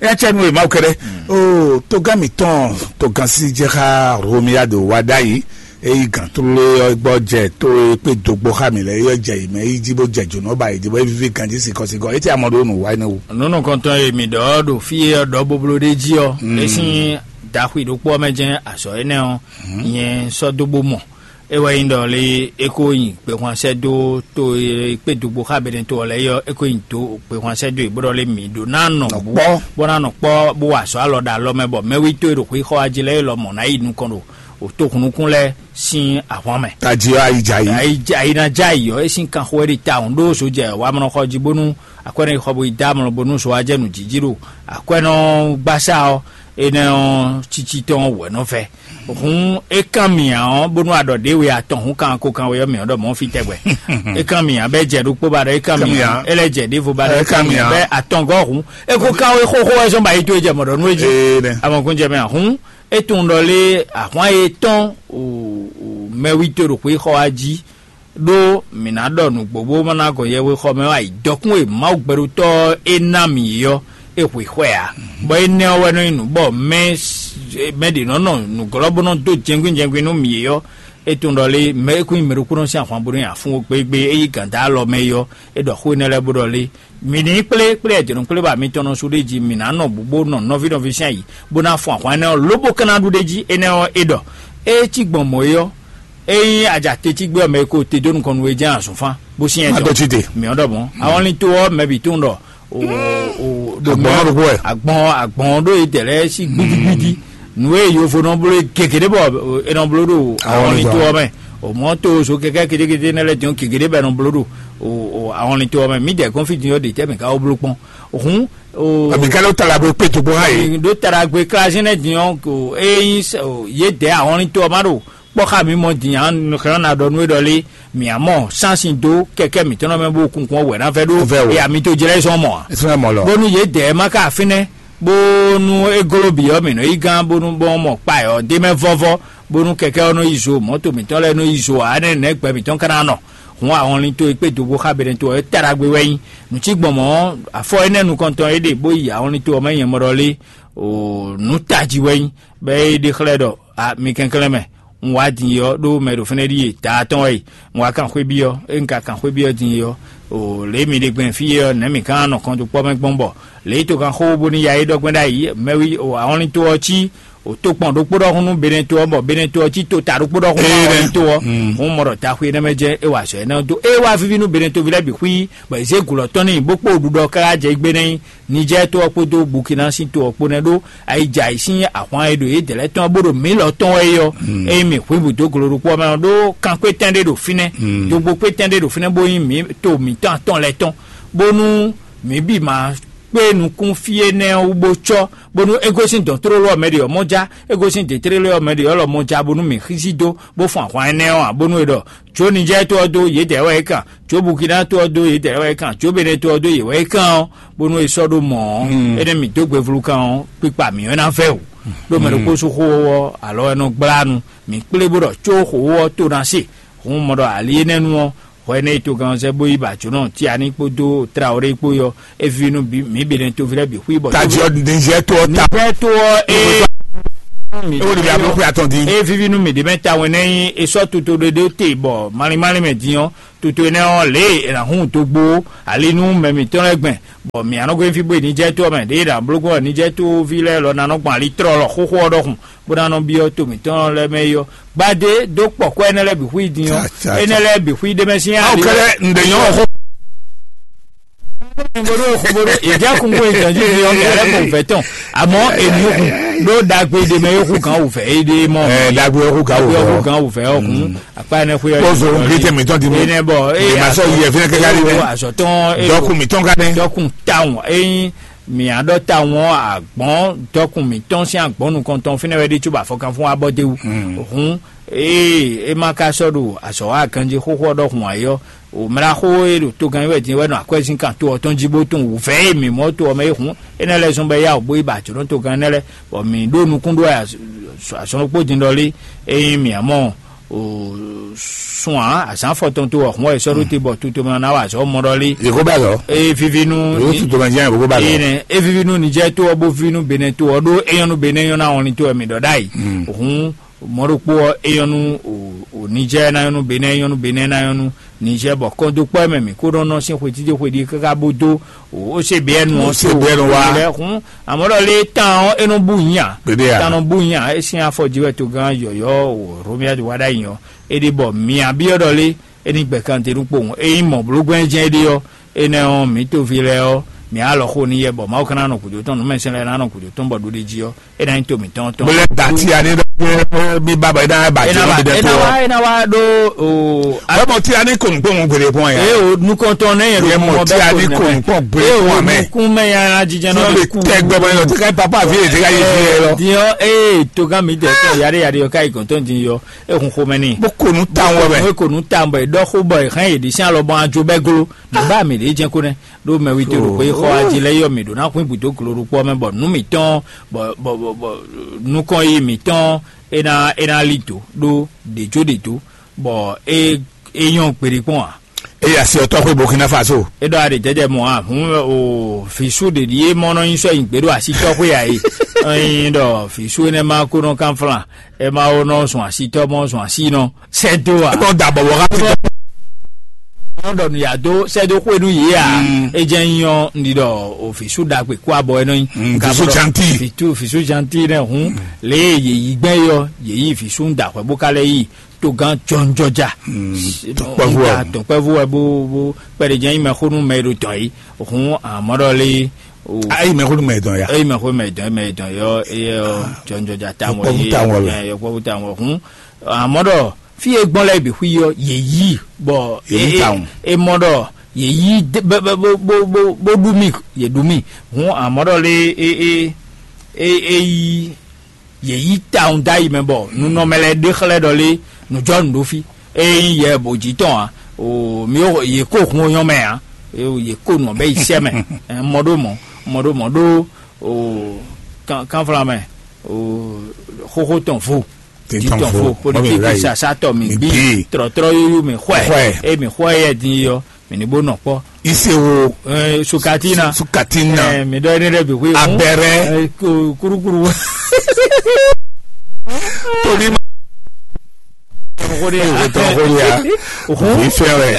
Nya cɛ nu e Mawu kɛɖɛ. O togán mǐtɔn togán sí jɛ xá Romiado wá ɖ'ayǐ. Eyi gǎn tlóló ɔ́ gbɔ jɛ tó e kpé dogbo xá mǐ lɛ́ɛ yɔ jɛ yě mɛ yi jí bó jɛ jǒnɔ ba yě jí bó é víví ganjí sikɔsikɔ. Etí amɔ ɖó nǔ wa énɛ́ wú. Nǔ nukɔntɔn e mǐ ɖɔ ɖo fí e ɔ́ ɖɔ bóbló ɖé jí ɔ́, é sín daxwi ɖokpó ɔ́ mɛ jɛ́n azɔ̌ énɛ́ ɔ́ nyɛ sɔ́ dó bó mɔ. É wɛ nyí ɖɔ lé é ko nyi gbehwan sɛ́ dó to e kpé dogbo xá Benɛto ɔ́ lɛ́ɛ yɔ é ko nyi dó gbehwan sɛ́ dó yě bó ɖɔ lé mǐ ɖó ná nɔ bú bó ná nɔ kpɔ́ bó wa azɔ̌ alɔ ɖo alɔ mɛ bɔ mɛwító e ɖo xwixɔ wá jí lɛ́ɛ é lɔ mɔ̌ ná yi nukɔn ɖo wǒ tohunnukún lɛ́ɛ sín ahwan mɛ. Tají ɔ́, ayi jɛ ayǐ. Ayi jɛ ayi ná jɛ ayǐ ɔ́, é sín kanxo wɛ ɖi tawun ɖó zojɛ wamlɔxɔ jí bónú akwɛ́nɔ yi xɔ bo yi dó amlɔ bónú zo wá jɛ nǔ jíjí ɖo akwɛ́nɔ gbasá ɔ́ énɛ́ ɔ́ cící tɔn wɛ nɔ vɛ. Hǔn é kán mǐ ǎ ɔ́ bónú a ɖɔ ɖě we atɔn hǔn kan ko kan we ɔ́ mǐ ɔ́ ɖɔ mɔ̌ fí tɛgbɛ. É kán mǐ ǎ bɛ́ jɛ ɖokpó ba ɖɔ é kán mǐ ǎ, é lɛ́ jɛ ɖěvo ba ɖɔ é kán mǐ ǎ bɛ́ atɔngɔ́ hǔn é ko kán we xóxó wɛ zɔ́n ba yi tó e jɛ mɔ̌ ɖɔ nú é jí. Amɔkúnjɛ mɛ ǎ hǔn é tunwun ɖɔ lé ahwan e tɔn mɛwító ɖo xwé xɔ wá jí ɖó mǐ ná ɖɔ nǔgbó bó má ná gɔn yɛhwexɔ mɛ wá yi dɔkún e Mawu gbɛɖotɔ́ ɔ́ é ná mǐ é ɔ́, é hwe xwɛ ǎ. Bɔ énɛ́ ɔ́ wɛ nɔ nyí nǔ bɔ mɛ mɛ ɖě nɔ nɔ nǔglɔ́ bó nɔ dó jɛngbín jɛngbín nú mǐ é ɔ́, é tunwun ɖɔ lé mɛ é kún nyí mɛ ɖokpónɔ sín ahwan bónú nyi afún ó gbégbé é yí gǎn dó alɔ mɛ é ɔ́, é ɖɔ xó énɛ́ lɛ́ɛ bó ɖɔ lé mǐ ní kplé kplé ɛjɛ̌nukplé ba mitɔn nɔ sú ɖé jí mǐ ná nɔ bǔ bó nɔ nɔví nɔví sín ayǐ bó ná fun ahwan énɛ́ ɔ́ lóbó ka ná ɖu ɖé jí énɛ́ ɔ́ é ɖɔ é cí gbɔn mɔ̌ é ɔ́, ényí a ja te cí gbé ɔ́ mɛ e ko te dó nukɔn nú we jɛ́n azɔ̌nfán bó syɛ́n Má dó cí te. Mǐ ɔ́ ɖɔ mɔ̌ awɔnlin to ɔ́ mɛ bǐ tunwun ɖɔ o o ɖo Agbɔ̌n mɛ- ɖokpó wɛ. Agbɔn agbɔn ɖó ye dɛ lɛ́ɛ sí gbídígbídí nǔ e yovo nɔ bló e gěgé ɖé bɔ e nɔ bló ɖo Awɔnlin awɔnlin to to ɔ́ mɛ o mɔ to zo kɛkɛ kétékété nɛ lɛ jɔn gěgé ɖé bɛ nɔ bló ɖo o o awɔnlin to ɔ́ mɛ mí dɛ kɔn fí din ɔ́ ɖe tɛ mɛ ka wó bló kpɔn òhun o Àmì kálí ó tala bó pé tó bó há yìí. Ɖó taɖagbe klazín lɛ́ɛ din ɔ́ ko ényí yě dɛ awɔnlin to ɔ́ má ɖo kpɔ́ xá mǐ mɔ din ǎ, nɔ xlɛ́ ná ɖɔ nú é ɖɔ lé mǐ á mɔ sánsìn dó kɛkɛ́ mǐtɔn mɛ bó kunkun ɔ́ wɛ ná vɛ́ ɖó Vɛ́ o. E amito jlɛ́ zɔn mɔ ǎ. Ismaɛl mɔ lɔ. Bónú yě dɛ má ka fínɛ́ bónú é gló bǐ ɔ́ mǐ nɔ yí gán bónú bɔn mɔ kpa ɔ́ dé mɛ vɔ́vɔ́ bónú kɛkɛ́ ɔ́ nɔ yi zo mɔ̌to mǐtɔn lɛ́ɛ nɔ yi zo ǎ nɛ́ nɛ̌ gbɛ mǐtɔn ka ná nɔ. Hǔn ahɔnlin towe kpé dǒbó xá Benɛto ɔ́ é taɖagbe wɛ nyí. Nǔ cí gbɔn mɔ̌, afɔ énɛ́ nukɔntɔn é ɖe bó yi ahɔnlin to ɔ́ mɛ nyɛ mɔ ɖɔ lé o nǔ tají wɛ nyí, bɔ é ɖe xlɛ́ ɖɔ a mi kɛnklɛ́n mɛ. Un wá din ɔ́ ɖó mɛ ɖo fɛ́nɛ́ ɖíe daa tɔn wɛ yi. Un wá kan xwé byɔ́, é un ka kan xwé byɔ́ din ɔ́, o lě mi ɖe gbɛn fí é ɔ́, nɛ̌ mǐ ka ná nɔ kɔn dó kpɔ́ mɛ gbɔn bɔ lě e to kan xó bónú ya é ɖɔ gbɛn ɖ'ayǐ mɛwí o ahɔnlin to ɔ́ cí o tokpɔn ɖokpó ɖɔhun nú Benɛto ɔ́, bɔ Benɛto ɔ́ cí to ta ɖokpó ɖɔhun nú Ee, ahɔnlin to ɔ́. Mm. Hǔn mɔ ɖɔ taxu énɛ́ mɛ jɛ́n é wa azɔ̌ énɛ́ ɔ́ dó. É wá víví nú Benɛto ví lɛ́ɛ bǐ xwí, bɔ è zě gǔ lɔ tɔn n'i bó kpó ɖuɖɔ káká jɛ gbé nɛ́ nyí Nijɛ́ɛ to ɔ́ kpódó Bukina sín to ɔ́ kpó nɛ́ ɖó ayijɛ ayǐ sín ahwan e ɖo yědɛɛ lɛ́ɛ tɔn ɔ́ bó ɖo mǐ lɔ tɔn wɛ é ɔ́, ényí mǐ hwǐ bǔ dó glo ɖokpó ɔ́ mɛ ɔ́, ɖó kankpé tɛn ɖé ɖo fínɛ́, dogbo kpé tɛn ɖé ɖo fínɛ́ bó nyí mǐ to mǐtɔn atɔn lɛ́ɛ tɔn, bónú mǐ bǐ ma kpé nukún fí énɛ́ ɔ́ wú bó cɔ́, bónú é gosín dɔ̌n tlóló ɔ́ mɛ ɖě ɔ́ mɔ já, é gosín dě tlélé ɔ́ mɛ ɖě ɔ́ lɔ mɔ já, bónú mǐ xísí dó, bó fun ahwan énɛ́ ɔ́ ǎ, bónú è ɖɔ, jó Nijɛ́ɛ to ɔ́ dó yědɛɛ wɛ é kan, jó Bukina to ɔ́ dó yědɛɛ wɛ é kan, jó Benɛto ɔ́ dó yě wɛ é kan ɔ́, bónú è sɔ́ ɖó mɔ̌ ɔ́, énɛ́ mǐ dó gbe vlu kan ɔ́, kpikpa mǐ wɛ ná vɛ́ wǔ. Ɖó mɛ ɖokpó sú xó ɔ́ alɔ wɛ nɔ gblá nu, mǐ kplé bó ɖɔ có xǒ ɔ́ to ná se. Hǔn mɔ ɖɔ ali énɛ́ nu ɔ́, hwɛ énɛ́ e togán ɔ́ zɛ bó yi ba jǒnɔ Tiani kpódó Trawlé kpó ɔ́, é víví nú mǐ Benɛto ví lɛ́ɛ bǐ xwí bɔ Tají ɔ́ ɖi Nizɛ́ɛ to ɔ́ ta. Nizɛ́ɛ to ɔ́ é mi. Ewo ɖi bɛ ablɔkwe atɔn din. E vivi nú mi ɖi mɛ tawun nɛ nyi e sɔ́ toto ɖe ɖe te bɔ malin malin mɛ din ɔ́, toto énɛ́ ɔ́ lě e è nǎ hun dó gbó ali nú mɛ mǐtɔn lɛ́ɛ gbɛn, bɔ mǐ a nɔ gosín fí bó yi Nijɛ́ɛ to ɔ́ mɛ, ɖěe è nǎ bló gbɔn Nijɛ́ɛ toví lɛ́ɛ lɔ ná nɔ gbɔn ali tlɔlɔ xóxó ɔ́ ɖɔhun, bó ná nɔ byɔ́ to mǐtɔn lɛ́ɛ mɛ é ɔ́. Gbadé dó kpɔ̌kɔ́ énɛ́ lɛ́ɛ bǐ xwí din ɔ́, énɛ́ lɛ́ɛ bǐ xwí ɖé mɛ sín ali. Awo kɛlɛ ŋɖɛ nyɔ xó. Ìjẹ́ kúnkún ìtọ́jú ni ọmọ rẹ kò fẹ́ tán, àmọ́ èmi hùn ló dàgbé de mɛ yóò kú kan òfẹ́ é dé mọ́. Ɛ dagbe ɔkú ga wò Dagbe ɔkú fẹ́. Kan òfẹ́ ọkùn àpá ẹni xwé Kpɔzɔ ŋgbé tɛ mìtɔn di mú. Ene bɔ Ema sɔ yi ɛfɛ kɛkɛ ali mɛ. Azɔtɔn Dɔkun mìtɔn ka nɛ. Dɔkun táwọn eyín mìadɔ táwọn àgbọn dɔkun mìtɔn sín àgbọn nukɔntɔn fínɛ wɛ ɖi tso bɔ afɔkan fún wa bɔ déwu. Hùn ee e ma ka sɔ ɖo azɔ wa ganji xóxó ɔ́ ɖɔhun ayɔ o mla xó e ɖo togan wɛ din wɛ nɔ akwɛzin kan to ɔtɔn jí bó tún wǔvɛ́ e mǐ mɔ to ɔmɛ e hùn énɛ́ lɛ́ɛ zɔn bɛ yá o bó yi ba jǒnɔ togan énɛ́ lɛ́ɛ bɔ mǐ ɖo nukún ɖó azɔn kpó din ɖɔlé. Ényí mǐ mɔ o sun ǎ azǎn fɔtɔn to ɔhun wɛ sɔ́ ɖó te bɔ tutomɛ ná wa azɔ̌ mɔ ɖɔlé. Yeko bɛ lɔ. Eye vivi nú Yóò tu tomɛ jẹ́ yeko bɛ lɔ. Eye nɛ e vivi nú nijɛ to ɔ bó vivi nú benɛ to ɔ ɖó eyɔn nú benɛ nyɔ́ ná wɔn to ɛ mǐ ɖɔ ɖ'ayǐ. Hǔn mɔ̌ ɖokpó ɔ́, é nyɔ́ nú Nijɛ́ɛ ná nyɔ́ nú Benɛ́ɛ, é nyɔ́ nú Benɛ́ɛ ná nyɔ́ nú Nijɛ́ɛ, bɔ kɔndókpɔ́ e mɛ mǐ kó nɔ nɔ sín xwe títí xwe ɖi káká bó dó O C B N ɔ́ Ó C B N wá. Lɛ́ɛ hun. Àmọ́ ɖɔ lé tán ɔ́, é nɔ bú nyi a? Kpéɖé a? Tán nɔ bú nyi a? É sín afɔ jí wɛ togán yɔ̌yɔ́ o Romiadi wá ɖ'ayǐ ɔ́, é ɖi bɔ mǐ a byɔ́ ɖɔ lé é ní gbɛ kan te nú kpowun. Ényí mɔ̌ bló gbɛ́n jɛ́n é ɖe ɔ́, énɛ́ ɔ́, mǐ toví lɛ́ɛ ɔ́, mǐ alɔ xo n'i yɛ bɔ Mawu ka ná nɔ gǔdo tɔn, nǔmɛsɛn lɛ́ɛ ná nɔ gǔdo tɔn bɔ ɖuɖe jí ɔ́, é ná nyí to mǐtɔn tɔn. Bó lɛ́ da tí a ní ɖɔ bí bábà é ná ba jɛ lɔ mi ɖɛ tó ɔ. É ná wá ɖó o. Bɛ́ mɔ tí a ní kò ní kpɔ́n gbére kpɔ́n yɛ. Ee o nukɔntɔn ne yɛ Yɛ mɔ tí a ní kò ní kpɔ́n gbére kpɔ́n mɛ. Nukun mɛ ya jijɛ Tí nɔ wọ́n lè tɛ gbɛ bɔ yẹn lọ tí ká papa àfi ètè ká yé fi yẹ lọ. Diɔ ee togan mi tɛ tɔ yare yare yɔ ká yi gɔntɔn din yɔ e hun xomɛ ni. Bó kò nú ta wọ bɛ. Ko ko nu ta bɔ e dɔ xo bɔ e hɛn e di sin alɔ bɔn ajo bɛ glo. Nugba mi de jɛ ko nɛ. Ɖó mɛwi to ɖo xwe xɔ aji lɛ yɔ mi ɖo na xwin budo glo ɖo kpɔ mɛ bɔ nu mi tɔn bɔ bɔ bɔ bɔ nukɔn yi mi tɔn e na e na li do ɖó ɖejo ɖejo bɔ e e nyɔ gbeɖe kpɔn a. Eye asi ɔtɔ xwe Burkina Faso. E ɖɔ aɖe jɛjɛ mɔ a hun o fisu ɖeɖi e mɔ nɔ nyi sɔ nyi gbe ɖo asi tɔ xwe a e. Ɛyin ɖɔ fisu ene ma ko nɔ kan flan e ma wo nɔ zun asi tɔ mɔ zun asi nɔ sɛ do a. Ebe da bɔbɔ ha ti. Nɔ ɖɔ nu ya do sɛ do xwe nu yi a. E jɛ nyɔ ndi ɖɔ o fisu ɖagbe kó abɔ e nɔ nyi. Fisu janti. Fisu janti nɛ hun le ye yi gbɛ yɔ ye yi fisu da xwe bo ka lɛ yi. Togán jɔnjɔja. Tɔkpɛvu wa. Tɔkpɛvu wa bó bó kpɛɖe jɛ yi mɛ xó nú mɛ ɖo dɔn yi hun amɔɖɔ lé. Ayi mɛ xó nú mɛ dɔn ya. Eyi mɛ xó mɛ dɔn mɛ dɔn yɔ eyɛ ɔ jɔnjɔja ta mɔ ye yɔkpɔvu ta mɔ hun amɔɖɔ fi e gbɔn lɛ bi hu yɔ ye yi bɔ e mɔ ɖɔ ye yi bó ɖu mi ye ɖu mi hun amɔɖɔ lé e e e e yi. Yě yí tawun dó ayi mɛ bɔ nunɔmɛ lɛ́ɛ ɖe xlɛ́ ɖɔ lé nǔjɔnǔ ɖó fí. Ényí yɛ bǒ jí tɔn ǎ, o mi yě kó hun onyɔ́ mɛ ǎ, yě kó nǔ ɔ́ bɛ́ yi sɛ́ mɛ. Mɔ ɖó mɔ̌, mɔ ɖó mɔ̌ ɖó o kánflá mɛ, o xóxó tɔn vo, jí tɔn vo, politikí sasátɔ mi bí, trɔ̌trɔ́ yóyó mi xwɛ, é mi xwɛ yɛ din yi ɔ́, mì ní bó nɔ kpɔ́. Isewo. Sukatina. Sukatina. Mì ɖɔ énɛ́ ɖɛ́ bǐ xwé. Abɛrɛ. Kurukuru. Toni ma. Tɔn xó ɖe ya. Tɔn xó ɖe ya. Òhun. Ìfẹ́ rẹ̀.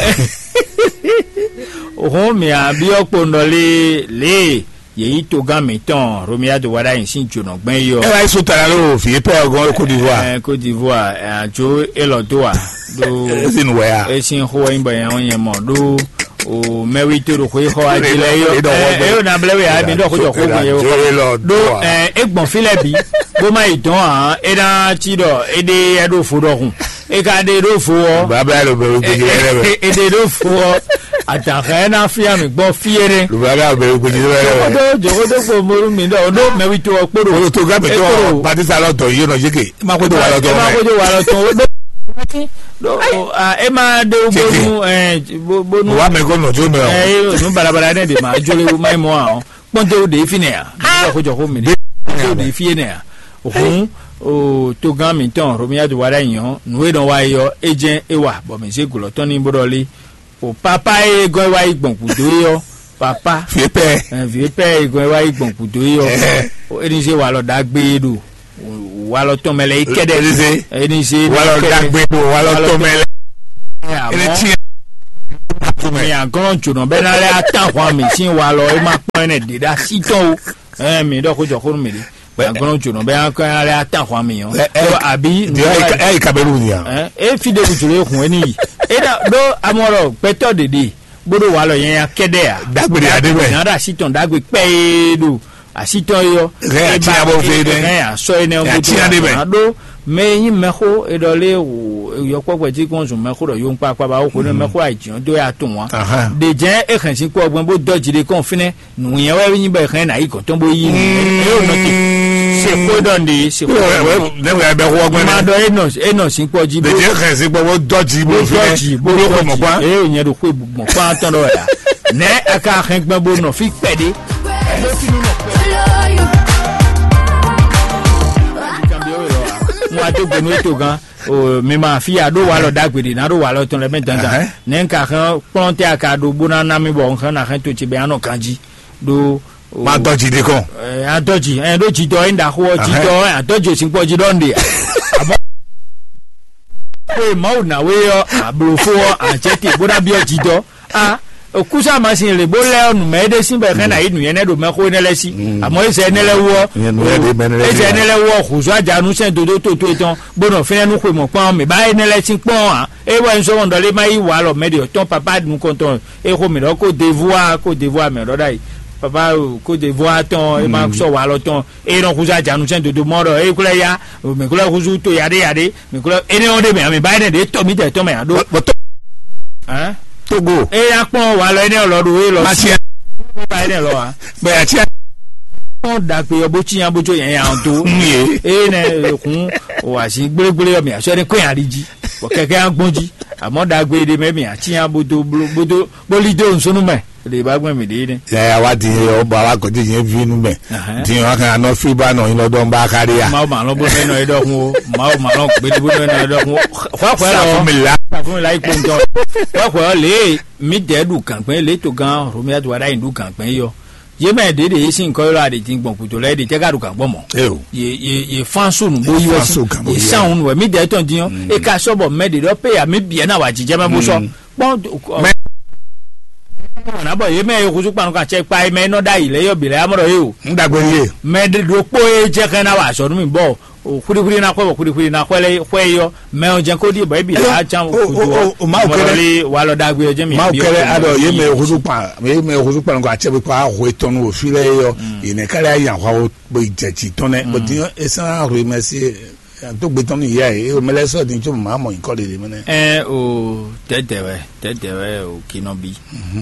Òhun mì àbíyọ́ kpondɔlé lé yèyí togán mǐtɔn Romiado wá ɖ'ayǐ sín jǒnɔgbɛ́n yi ɔ́. Ẹ wá yí sún tala ló fi pẹ́ ọgọ́n Côte d'Ivoire. Ẹ Côte d'Ivoire ẹ àjò élɔ́ dó wa. Ɖó esi nu wɛ ya. Esi xó wɛ nyí bɔ yẹn wɛ nyɛ mɔ ɖó o mɛwi to ɖo xwé xɔ aji lɛ yɔ. Ɛ yóò na blɛ wɛ ya mi ɖɔ xójɔ xó gbɔn yɛ wɔ. Ɖó ɛ e gbɔn fi lɛ bi bó ma yi dɔn hàn e na ti ɖɔ e ɖe yɛ ɖo fo ɖɔ hun e ka ɖe ɖo fo wɔ. Baba lo bɛrɛ gbèjì lɛ bɛ. E ɖe ɖo fo wɔ. Àtàkà ẹ na fi àmì gbɔ fi ẹ nẹ. Lo baba lo bɛrɛ gbèjì lɛ bɛ. Jogodo jogodo gbɔ molu mi ɖɔ o ɖo mɛwi to ɔ kpóɖo. Olo to gabi to. Batisa lɔ tɔ yi nɔ yeke. Ema xwedó wa lɔ tɔn. Ema xwedó wa lɔ tɔn o ɖo. Ɖo e ma ɖe wo bonu ɛ bonu. Wa mɛ ko nɔ jo mɛ o. Ɛ nu balabala ne de ma jo le wo ma mɔ a o kpɔnte wo de fi ne ya. Ba ko jɔ ko mi de de fi ne ya. Ohun o togan mi tɔn Romiya do wa da yan nu e dɔn wa yɔ e jɛ e wa bɔ mi se gulɔ tɔn ni bo dɔ li. O papa e gɔn wa yi gbɔn kudo yɔ papa. Fi pɛ. Ɛ vi pɛ e gɔn wa yi gbɔn kudo yɔ. Ɛ. O e ni se wa lɔ dagbe do. walɔ tɔn mɛ lɛ yi kɛdɛ. Elize. Elize. Walɔ dagbe do walɔ tɔn mɛ lɛ. Ele ti. Mi agɔn jona bɛ na lɛ atan hwan mi sin walɔ e ma kpɔn ne de da si tɔn o. Ɛ mi dɔ ko jɔ ko nu mi de. Agɔn jona bɛ na lɛ atan hwan mi yɔ. Abi. Ɛ yi kabelu ni ya. Ɛ e fi de bu jolo e hun e ni yi. E da do amɔ lɔ gbɛtɔ dede. Bó ɖo walɔ nyanya kɛdɛ a. Dagbe ɖe aɖe mɛ. Nya ɖo asi tɔn dagbe kpɛ ye ɖo asi tɔn ye ɔ. Hɛn atia bɔ fe ɖe. Hɛn asɔ ye nɛ ɔ́ bó atia ɖe mɛ. Ɖo mɛ nyi mɛxó eɖɔ lé o yɔkpɔkpɛ tí kɔn zun mɛxó ɖɔ yó ŋkpa kpa ba wó xó ne mɛxó ayi jìɔn dó ya tún wa. Ɖe jɛ e hɛn si kpɔ gbɛn bó dɔ jì ɖe kɔn fínɛ nùyẹn wɛ nyi bɛ hɛn na yi gɔn tɔn bó yi nù. E yóò nɔ te se xó ɖɔ nde se xó ɖɔ nde. Nɛgbɛ bɛ xɔ gbɛn. Ma ɖɔ e nɔ e nɔ si kpɔ jí bó. Ɖe jɛ hɛn si kpɔ bó dɔ jì bó fínɛ bó dɔ jì bó dɔ jì. E yóò nyɛ ɖo xó gbɔn kpán tɔn ɖɔ ya. Nɛ a ka hɛn gbɛn bó nɔ fí kpɛɖé. Ŋun a dó gbenu eto gan. Mi ma fi a ɖó walɔ dagbe ɖe na ɖó walɔ tɔn lɛ mɛ dandan. Nɛ n ka hɛn kplɔn tɛ a ka ɖó bó ná ná mi bɔ n hɛn na hɛn to ce bɛ anɔ ganji ɖó. Ma dɔji ɖe kɔn. Adɔji ɛ ɖó jidɔ ɛ ɖaxó ɔ jidɔ ɛ adɔji òsínkpɔ jí ɖɔ nɖe. Àmọ́ pé Mawu nàwé ɔ àblòfó ɔ àjẹtì bó ná byɔ́ jidɔ a. Kúsá màsín lè bó lɛ ɔ́ nùmɛ é ɖé sín bɔ é xɛ́ ná yí nǔnyɛ nɛ́ ɖo mɛxó énɛ́ lɛ́ɛ sí. Àmọ́ ézɛ énɛ́ lɛ́ɛ wú ɔ́, ézɛ énɛ́ lɛ́ɛ wú ɔ́ hǔzú ajanú sɛn dodó tótó tɔn bó nɔ fínɛ́ nú xwe mɔ̌kpán ɔ́ mǐ ba énɛ́ lɛ́ɛ sín kpɔ́n ǎ. É wɛ un sɔ́ wɔn ɖɔ lé má yí walɔ mɛ ɖě ɔ́ tɔn papá nukɔntɔn é xó mǐ ɖɔ kó devúa kó devúa mǐ ɖɔ ɖ'ayǐ. Papá kó devúa tɔn é má sɔ́ walɔ tɔn é nɔ húzú ajanú sɛn dodó mɔ ɖɔ é kwlɛ́ yá mǐ kwlɛ́ húzú to yaɖé yaɖé mǐ kwlɛ́ énɛ́ ɔ́ ɖé mɛ mǐ ba énɛ́ ɖě tɔ mǐtɛ́ tɔn mɛ ǎ ɖó. Togo. Eye akpɔn walɔ ene lɔ ɖo e lɔ si. Ba ene lɔ wa. Bɛ ati. Kpɔn dagbe yɔ bó tsi yan bó tso yɛn yan do. Ye. Eye ne kun o asi gblégblé yɔ mi asɔ ne kó yan ali dzi. Bɔ kɛkɛ yan gbɔn dzi. Àmọ́ dagbe ɖe mɛ mi atsi yan bó do bó do bó li do nsúnú mɛ. Ɖe ba gbɛn mi ɖe ne. Yaya wa di yɛ o ba wa gɔdi yɛ vi nu mɛ. Di wa kan anɔ fi ba nɔ yin lɔ dɔn ba ka de ya. Mawu ma lɔ bó nɔ yin lɔ yi dɔkun o. Mawu ma lɔ gbedi bó nɔ yin lɔ yi dɔkun o. Xɔ xɔ lɔ. Safumila. Safumila yi kpɔntɔ. Xɔ xɔ le mi dɛ ɖu gangbe le to gan Romia to wa da yin ɖu gangbe yɔ. Ye mɛ ɖe ɖe ye sin kɔ yɔ la de din gbɔn kuto lɛ de tɛ ka ɖu gan gbɔn mɔ. Ye ye ye fan su nu bo yi wɛ si. Ye san nu wɛ mi dɛ tɔn din yɔ. E ka sɔ bɔ mɛ de dɔ pe ya mi biɛ na wa jijɛ mɛ bo sɔ. Kpɔn mɛ. Wana bɔ ye mɛ ye huzu kpanu kan cɛ kpa ye mɛ nɔ da yi lɛ yɔ bi lɛ amɔ dɔ ye o. N dagbe ye. Mɛ ɖokpo ye jɛ kɛ na wa azɔ nu mi bɔ o xwilixwili na xɔ bɔ xwilixwili na xɔ lɛ xɔ ye yɔ mɛ o jɛ ko di bɔ ebi la can o kudu o ma o kɛlɛ. Mɔlɔli walɔ dagbe yɔ jɛ mi. Ma o kɛlɛ adɔ ye mɛ huzu kpa ye mɛ huzu kpanu kan cɛ bi kpa hwe tɔnu o fi lɛ ye yɔ. Ye nɛ kɛlɛ ayi ahwa o bɔ jɛ ci tɔn nɛ bɔ di esan ahwe mɛ si. Tó gbe tɔn ní ìyá yìí o mẹlẹ sọ ní tó màá mọ nǹkan lè lè mẹ nẹ. Ɛ o tɛtɛ wɛ tɛtɛ wɛ o kinɔbi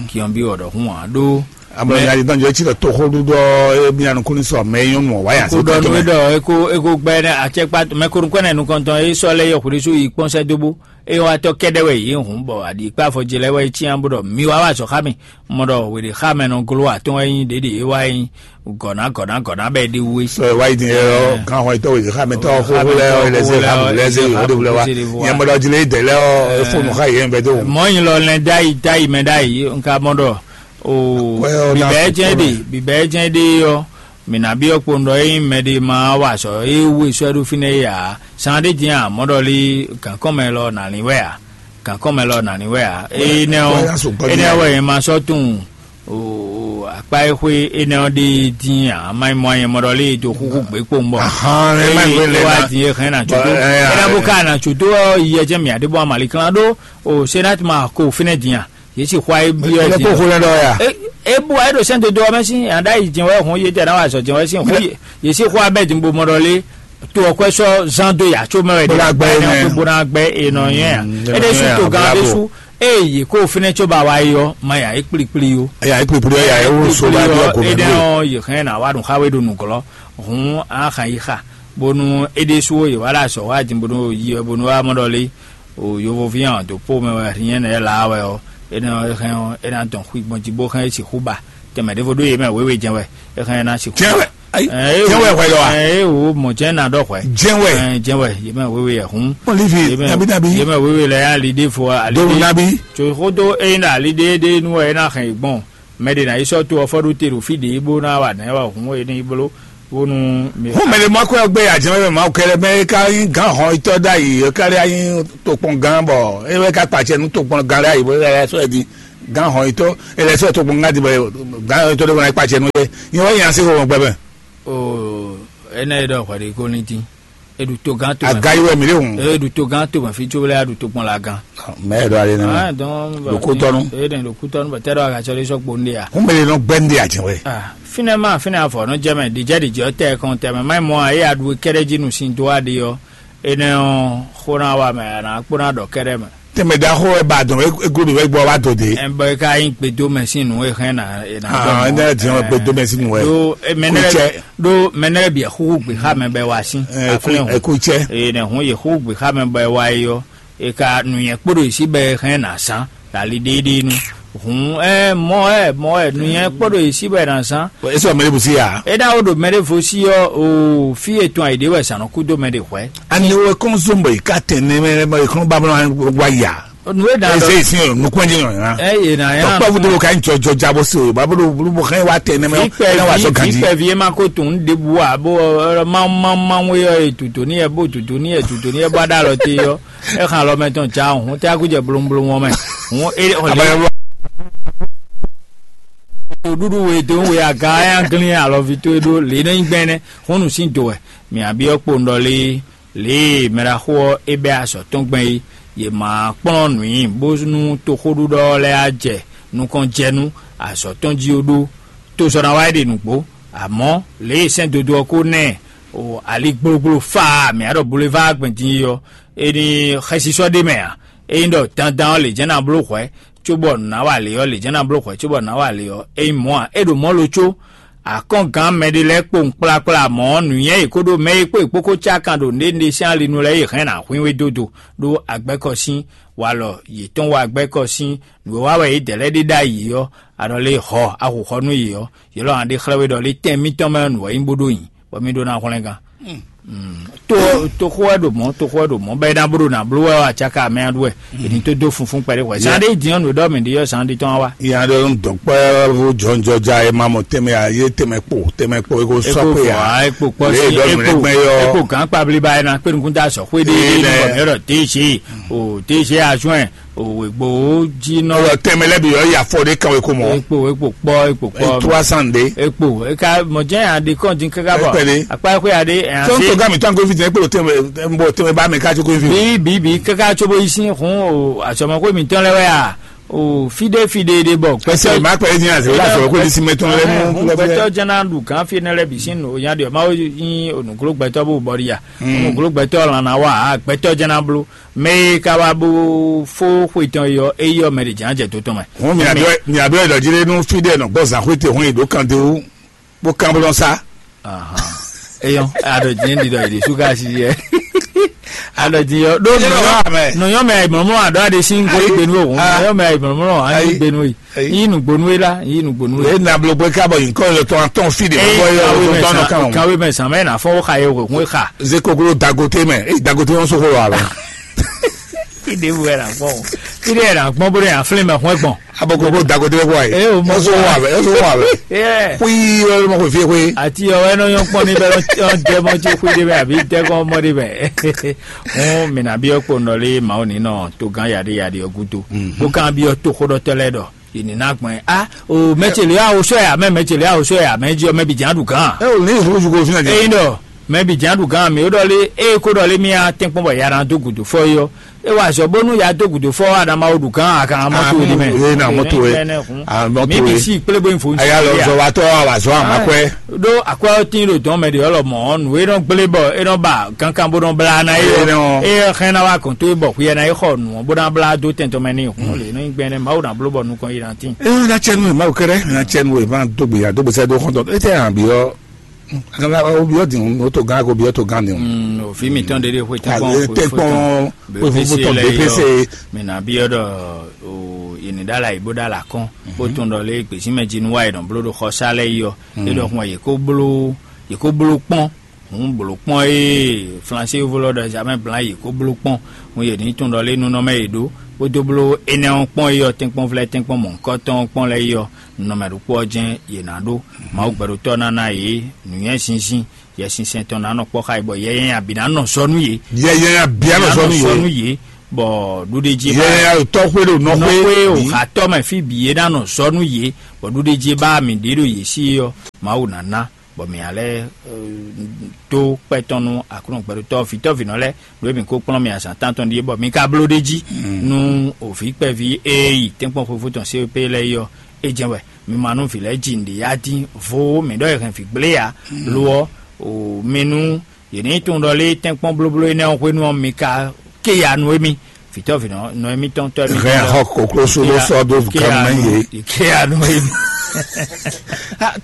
kinɔbi ɔdɔ hun wa ɖó. Amọ yàrá ìtàn jẹ́ tí lọ tó xó dúdú ẹ bí anukun ní sọ mẹ yín nù wáyà sí kó dɔnu tẹ́tẹ́. Dɔ eko eko gbɛ nɛ atsɛkpa mɛ kó nukɔ nɛ nukɔntɔn e sɔ lɛ yɔ kúrú so yi kpɔn sɛ dóbó eye wa tɔ kɛdɛ wɛ yi hun bɔ adi kpa afɔ jɛ lɛ wɛ yi tiɲɛ bó dɔ mi wa wa sɔ xa mi. Mɔ ɖɔ wěɖe xa mɛ nɔ gló atɔ́n wɛ nyí ɖěɖě é wá nyí gɔ̌ná gɔ̌ná gɔ̌ná bɛ́ ɖi wú é. Sɔ wá yi din yɛ ɔ kan xɔ itɔ wòye xa mɛ tɔ xo lɛ ɔ lɛ se xa bu lɛ se o de wulɛ wa nyɛ mɔ ɖɔ jile dɛ lɛ ɔ efo nu xa yɛ bɛ do. Mɔ nyi lɔ lɛ da yi da yi mɛ da yi nka mɔ ɖɔ o bibɛ jɛ de bibɛ jɛ de yɔ mina bi ɔkpo ŋdɔ yi mɛ de ma wa sɔ e wu esɔ ɖo fi nɛ ya san de din a mɔ ɖɔ li gankɔn mɛ lɔ na lin wɛ a gankɔn mɛ lɔ na lin wɛ a e nɛ ɔ e nɛ wɛ ma sɔ tun. O akpa e xwe énɛ́ ɔ́ ɖe dín ǎ, má nyí mɔ anyɛ mɔ ɖɔ lé e dó xúxú gbě kpowun bɔ. Ahán, é má nyí wé lɛ é wá ná. Dín é hɛn ná tso tó. Bɔ, ɛ, ɛ, é ná bó ká ná tso tó ɔ́ yi ɛ jẹ́ mǐ adébó amali klán ɖó. O senat ma ko fínɛ́ dín a yě si xwa é byɔ́ ɛ dín. Kó xó lɛ́ ɖɔ ya. É é bó ayé ɖo sɛ́n dodó ɔ́ mɛ sín àɖá yi jɛn wɛ hɔn yé tɛ ná wà zɔ jɛn wɛ sín xó yé si xó abẹ́ dín bó mɔ ɖɔ lé. To ɔkwɛ sɔ zan do ya tso mɛ wɛ de bó ná gbɛ é nɛ. Bó ná gbɛ é nɔ nyɛ ya. Mm, é ɖe su to gan ɖe su. Eye yě kó fínɛ́ có ba wá yi ɔ́, má ya é kplíkplí ó. Eya é kplíkplí ɔ́ ya é wó so bá bí ɔkò mɛ é dɛ́ ɔ́ yě hɛn ná wá ɖun xá we ɖo nǔglɔ́. Hǔn á xan yi xa bónú é ɖésú ó yě wá ɖo azɔ̌ wá din bónú yi wɛ bónú wá mɔ ɖɔ lé. O yovoví hàn dó pó mɛ wɛ hǐnyɛ́ nɛ́ lá wɛ ɔ́, énɛ́ ɔ́ é hɛn ɔ́ é ná dɔn xwigban jí bó hɛn é sixú ba. Tɛmɛ ɖěvo ɖó yě mɛ wěwe jɛn wɛ é hɛn é ná sixú. Jɛn wɛ. Ayi, jɛn wɛ hwɛ lɔ wa? Ɛ o mɔ jɛn na ɖɔ hwɛ. Jɛn wɛ. Ɛ jɛn wɛ yé mɛ wewe yɛ hun. Olivi, nabi nabi. Yé mɛ wewe lɛ ya li ɖe fo ali do nabi. Tso xodo e na ali ɖe ɖe nu wɛ na hɛn gbɔn. Mɛ de na yi sɔ to ɔfɔ ɖo te ɖo fi ɖe bo na wa nɛ wa hun e ni blo. Bónú mi Hɔn mɛ ɖé mɔ akwɛ́ ɔ́ gbé ajɛmɛ mɛ Mawu kɛlɛ mɛ é ka nyí gǎn hɔn itɔ́ ɖ'ayǐ é ka ɖe anyí tokpɔn gán bɔ é wɛ ka kpacɛ nú tokpɔn gán ɖ'ayǐ bó é sɔ́ ɛ di gǎn hɔn itɔ́ é lɛ́ sɔ́ ɛ tokpɔn gán di bɔ gǎn hɔn itɔ́ ɖé wɛ ná kpacɛ nú é nyí wɛ nyi así xo gbɛ mɛ. Oo, énɛ́ e ɖɔ hwɛɖékólintín, e ɖu togán to mɛ. Aga yi wɛ mǐ ɖe hùn. E ɖu togán to mɛ fí có lɛ́ ɖu tokpɔn la gán. Mɛ e ɖɔ ale nɛ Ah, donc, Ɖo kútɔnú. E ɖe ɖo kútɔnú bɔ tɛ ɖɔ aga tsɔ ɖe sɔkpo nɖe ya. Hún mɛ ɖe nɔ gbɛ nɖe ajɛ wɛ. Ah, fínɛ́ ma fínɛ́ afɔ nɔ jɛ mɛ ɖijɛ ɖijɛ ɔ́ tɛ kɔn tɛ mɛ mayi mɔ a ye aɖu kɛɖɛ jí nu sin dó aɖi ɔ́, enɛ ɔ́ xó ná wa mɛ a nǎ kpó ná ɖɔ kɛɖɛ mɛ. Tɛmɛ ɖaxó wɛ ba dɔn eglo ɖo wɛ gbɔ wa do de. Ɛn bɔ e ka nyí gbedo mɛ sín nǔ e hɛn na e na Ah, dɔn ne di ɔn gbedo mɛ sín nǔ wɛ. Do e mɛ nɛ Kutsɛ. Do mɛ nɛ bia xuxu gbe xa mɛ bɛ wa sín. Ɛ, ku- Aflɛ ɛ, hɔn. Kutsɛ. Eye nɛ hɔn ye xuxu gbe xa mɛ bɛ wa yi ɔ. E ka nuyɛ kpo ɖo isi bɛ hɛn na sán dali ɖeɖe nu. Hɔn ɛ mɔ ɛ mɔ ɛ nuyɛ kpo ɖo isi bɛ na sán. Esi wà mɛ ɖe bùsí yà. E ɖa wo ɖo mɛ ɖe vo si ɔ o fi etɔn ayi ɖe wɛ sàn nɔ kú dó mɛ ɖe hwɛ. Ani wɛ kɔn zɔn bɔ yi ka tɛn ne mɛ mɛ kɔn ba bɔ wa ya. Nu e ɖa Eze dɔ isin o nukun jɛ yɔn ya. Eye na ya. Tɔkpɛ wu de wo ka yin jɔjɔ ja bɔ se o ba bolo bolo bɔ xɛ wa tɛ nɛmɛ o. Ikpɛ Ɛna wa vi sɔ ganji. Ikpɛ vi e ma ko tun ɖebu a bo ɔ, ma ma ma ŋwe yɔ e tuto ni yɛ bo tuto ni yɛ tuto ni yɛ bɔ aɖa lɔ te yɔ. E xan lɔ mɛ tɔn ja hun te aku jɛ blomblom wɔn mɛ. Hun e ɔ Abaya le. Ɖuɖu we to we aga ya glin alɔvi to e ɖo le ne nyi gbɛn nɛ. Hun nu sin do wɛ. Mi abi ɔ kpo ndɔ le. Lě e mɛɖaxó ɔ́ é bɛ́ azɔ̌ tɔn gbɛn é, yě ma kplɔ́n nǔ nyi bónú toxóɖuɖɔ ɔ́ lɛ́ɛ á jɛ nukɔn jɛ nú azɔ̌ tɔn jí ó ɖó. Tozɔ́ ná wá é ɖe nǔgbó, amɔ̌ lě e sɛ́n dodó ɔ́ ko ná ɛ o ali gblógbló faa mǐ á ɖɔ boulevard gbɛn din é ɔ́, é ní xɛsísɔ́ ɖ'é mɛ ǎ. Ényí ɖɔ dandan ɔ́ lě jɛ́n ná bló hwɛ̌, cóbɔ nǔ ná wa lě ɔ́, lě jɛ́n ná bló hwɛ̌ cóbɔ nǔ ná wa lě ɔ́, é nyí mɔ̌ ǎ. É ɖo mɔ̌ lo có Akɔ́ngán mɛɖé lɛ́ɛ kpowun kplakpla mɔ̌, nǔnywɛ́ e kó ɖó mɛ e kpó è kpó ko cá kan ɖo nǔɖénúɖé sín ali nu lɛ́ɛ yi hɛn nǎ xwín we dó do ɖó agbɛ́kɔ sín walɔ yětɔn wá agbɛ́kɔ sín nǔ e wa wɛ yědɛɛ lɛ́ɛ ɖe ɖ'ayǐ ɔ́, a ɖɔ lé hɔ a xo xɔ nú yě ɔ́, yě lɔ ná ɖe xlɛ́ we ɖɔ lé tɛn mitɔn mɛ ɔ́ nǔ wɛ nyí bó ɖó nyi, bɔ mì ɖó ná hwlɛ́ngán. To toxó wɛ ɖo mɔ̌, toxó wɛ ɖo mɔ̌, bɔ é ná bó ɖo nǎ bló wɛ ɔ́, acáka mɛ ɔ́ ɖu wɛ. È ní tó dó funfún kpɛɖé hwɛ̌. Zan ɖé din ɔ́, nǔ e ɖɔ mì ɖi ɔ́, zan ɖi tɔn wá wá. Nya ɖe ń dɔn kpɛ́ vo jɔnjɔja e ma mɔ tɛnmɛ a yé tɛnmɛ kpo tɛnmɛ kpo e ko sɔ́ kpo kpe fɔ a a ekpo kpɔ lè si dɔ nù ekpo lẹ́gbẹ́ yɔ ekpo gán kpablíba ena kpé nukún tá sɔ xwé ɖé Ee, ɖé nɛ. Nukɔ mɛ ɖɔ téṣe o téṣe azɔn o wegbo jí nɔ. Ɔlɔ tɛnmɛ lɛ bi yɔ ya fɔ ɖe kan we ko mɔ ekpo ekpo kpɔ ekpo kpɔ trois cent de ekpo eka mɔ jɛn a ɖe kɔn dín kaka bɔ Ekpe ɖe. Akpa xwé a ɖe ɛ tɔn to ase gami tɔn ko fi tɛnmɛ kpo tɛnmɛ bɔ tɛnmɛ ba mɛ ká tó ko fi bi bi bi kaka tso bo yi sin hun o asɔmɔ ko mi tɔn lɛ wɛ a o fi ɖe fi ɖe ɖe bɔ ɛsɛ ma kpɛ ɛdín àti wíwá sɔrɔ kó ní sí mɛtɔn lɛ mú Gbɛtɔ jɛn na ɖu kan fi ne lɛ bi sin o nya ɖe ma o yin o nuklo gbɛtɔ bo bɔ ɖi ya o nuklo gbɛtɔ lan na wa a gbɛtɔ jɛn na blo mɛ e ka wa bo fo xwe tɔn yɔ e yɔ mɛ ɖe jɛn jɛ to tɔn mɛ. Wọn mi àbí mi àbí ọ̀dọ̀ jílé nú fídíò náà gbọ́ zàkúté hɔn ìdó kan dé wú bó kán bó lọ sá. Eyɔn aɖɔ diɛ ɖi ɖɔ yi ɖe suka si yɛ aɖɔ diɛ ɖo Eye nɔyɔ nɔyɔ mɛ. Nɔyɔ mɛ mɔmɔ aɖɔ aɖe si ŋgɔ Ayi. Igbenu o Ah. Nɔyɔ mɛ mɔmɔ anyi Ayi. Igbenu yi Ayi. Yi nugbonu yi la yi nugbonu yi. Eye na blo bwe ká bɔ yi kɔ yɔ tɔn atɔn fi de Eyi bɔ yɔ kawe mɛ tɔn tɔn san kan. Kawe mɛ san mɛ na fɔ wo xa ye wo kun xa. Ze koklo dagote mɛ e dagote wọn soko wa la. Ide bu yɛ na gbɔn o ide yɛ na gbɔn bo de aflin mɛ hɔn gbɔn. Abɔ koklo dagote bɛ bɔ ye. Ee, o mɔ Ɔsɔ wa bɛ ɔsɔ wa bɛ. Ee. Kui ɔlọmọ ko fie koe. Ati ɔwɛ nɔ nyɔ kpɔn ni bɛ ɔn jɛ mɔ tso kui de bɛ abi tɛ kɔn mɔ de bɛ. Hun mina bi ɔkpɔnɔ le mawu ni nɔ to gan yadi yadi ɔgudo. Bo kan bi ɔto xodɔtɔ lɛ dɔ. Yìnyín ná gbɔn ɛ a o mɛtsɛlɛ awo sɔ yà mɛ mɛtsɛlɛ awo sɔ yà mɛ jí ɔmɛ bi jàn dùn kan. Ɛ o ní ìfowópamọ́ fi hàn jẹ́. Eyin dɔ mɛ bi jàn dùn kan mi ó dɔlé e kó dɔlé mi a tɛnkpɔn bɔ yàrá dó gùdù fɔ yɔ e wa zɔ bónú yà dó gùdù fɔ adama o dùn kan a kan mɔtò ni mɛ. Ye na mɔtò ye. A mɔtò mi ye. Bi si kplé bó info. A yà lọ zɔ wa tɔ a wa zɔ a ma kɔɛ. Ɖó akwɛ́ ɔ́ tín ɖo dɔn mɛ ɖě ɔ́ lɔmɔ̌ nǔ e nɔ gblé bɔ é nɔ ba kankan bó nɔ blá ná é Eye ɔ́ nɔ. É ɔ́ xɛn ná wá kɔn tó é bɔ hwi ɛ ná é xɔ nǔ ɔ́ bó ná blá dó tɛn tɔn mɛ n'i hǔn lě nɔ nyí gbɛn nɛ́ Mawu ná bló bɔ nukɔn yi ná tín. Eye ná cɛ nú ɛ Mawu kɛ́ɖɛ́ ná cɛ nú ɛ má dó gbe ya dó gbe sɛ́ dó xɔ́ntɔn é tɛ hàn bí ɔ́ aganla ó bí ɔ́ dǐn ó tó gán kó bí ɔ́ tó gán dǐn. Òfin mi tán dédé xwe tán kpɔn Tɛ kpɔn pé fúnfún tɔn bépé se. Mɛ nà bí ɔ́ ɖɔ o yìnyín ɖá la yìí bó ɖá la kɔn bó tún ɖɔ lé gbèsè mɛ jí nú wá yìí nɔ bló ɖo xɔ sá lɛ yi ɔ́ é ɖɔ xun yìí kó bló yìí kó bló kpɔn. Hǔn blǒ kpɔ́n e Flansé yovo lɔ ɖɔ jamɛ blan yi kó bló kpɔ́n. Hǔn yě ní tunwun ɖɔ lé nunɔmɛ yě ɖó, kpódó bló énɛ́ ɔ́ kpɔ́n é ɔ́, tɛ́nkpɔ́nvlɛ́ tɛ́nkpɔ́n mɔ̌hunkɔtɔn ɔ́ kpɔ́n lɛ́ɛ é ɔ́, nɔmɛ ɖokpó ɔ́ jɛ́n yě ná ɖó. Mawu gbɛɖotɔ́ ná ná yě nǔnywɛ́ zinzin, Yɛsinsɛn tɔn ná nɔ kpɔ́ xá yě, bɔ yɛ nyanya bǐ ná nɔ zɔ nú yě. Yɛ nyanya bǐ á nɔ zɔ nú yě. Bɔ ɖuɖéjí yɛ nyanya ɖo tɔ́xwé ɖo nɔxwé. Nɔxwé o xatɔ́ mɛ fí bǐ é ná nɔ zɔ nú yě, bɔ ɖuɖéjí e ba mǐ ɖe ɖo yě sí é ɔ́, Mawu ná ná, bɔ mǐ ná lɛ́ dó kpɛ́ tɔn nú Aklúnɔ gbɛɖotɔ́ vǐtɔ́vǐnɔ lɛ́ɛ, ɖó mǐ ko kplɔ́n mì azǎn tántɔn ɖíe, bɔ mi ka bló ɖ'é jí nú òvǐ kpɛví e yi tɛ́nkpɔ́n xwefó tɔn C P lɛ́ɛ é ɔ́, é jɛ́n wɛ. Mi ma nú vǐ lɛ́ɛ ji nǔɖé ya dín vo mǐ ɖɔ è hɛn vǐ gblé ǎ. Lo ɔ́, o mi nú yě ní tunwun ɖɔ lé tɛ́nkpɔ́n blóbló énɛ́ ɔ́ hwenu ɔ́, mi ka ké ya nú émí, vǐtɔ́vǐnɔ nɔ émítɔn tɔ́ émítɔn hɛn lɛ́ɛ. Xɔ koklóso ló sɔ́ dó gǎn mɛ yě. Ké ya nú émí.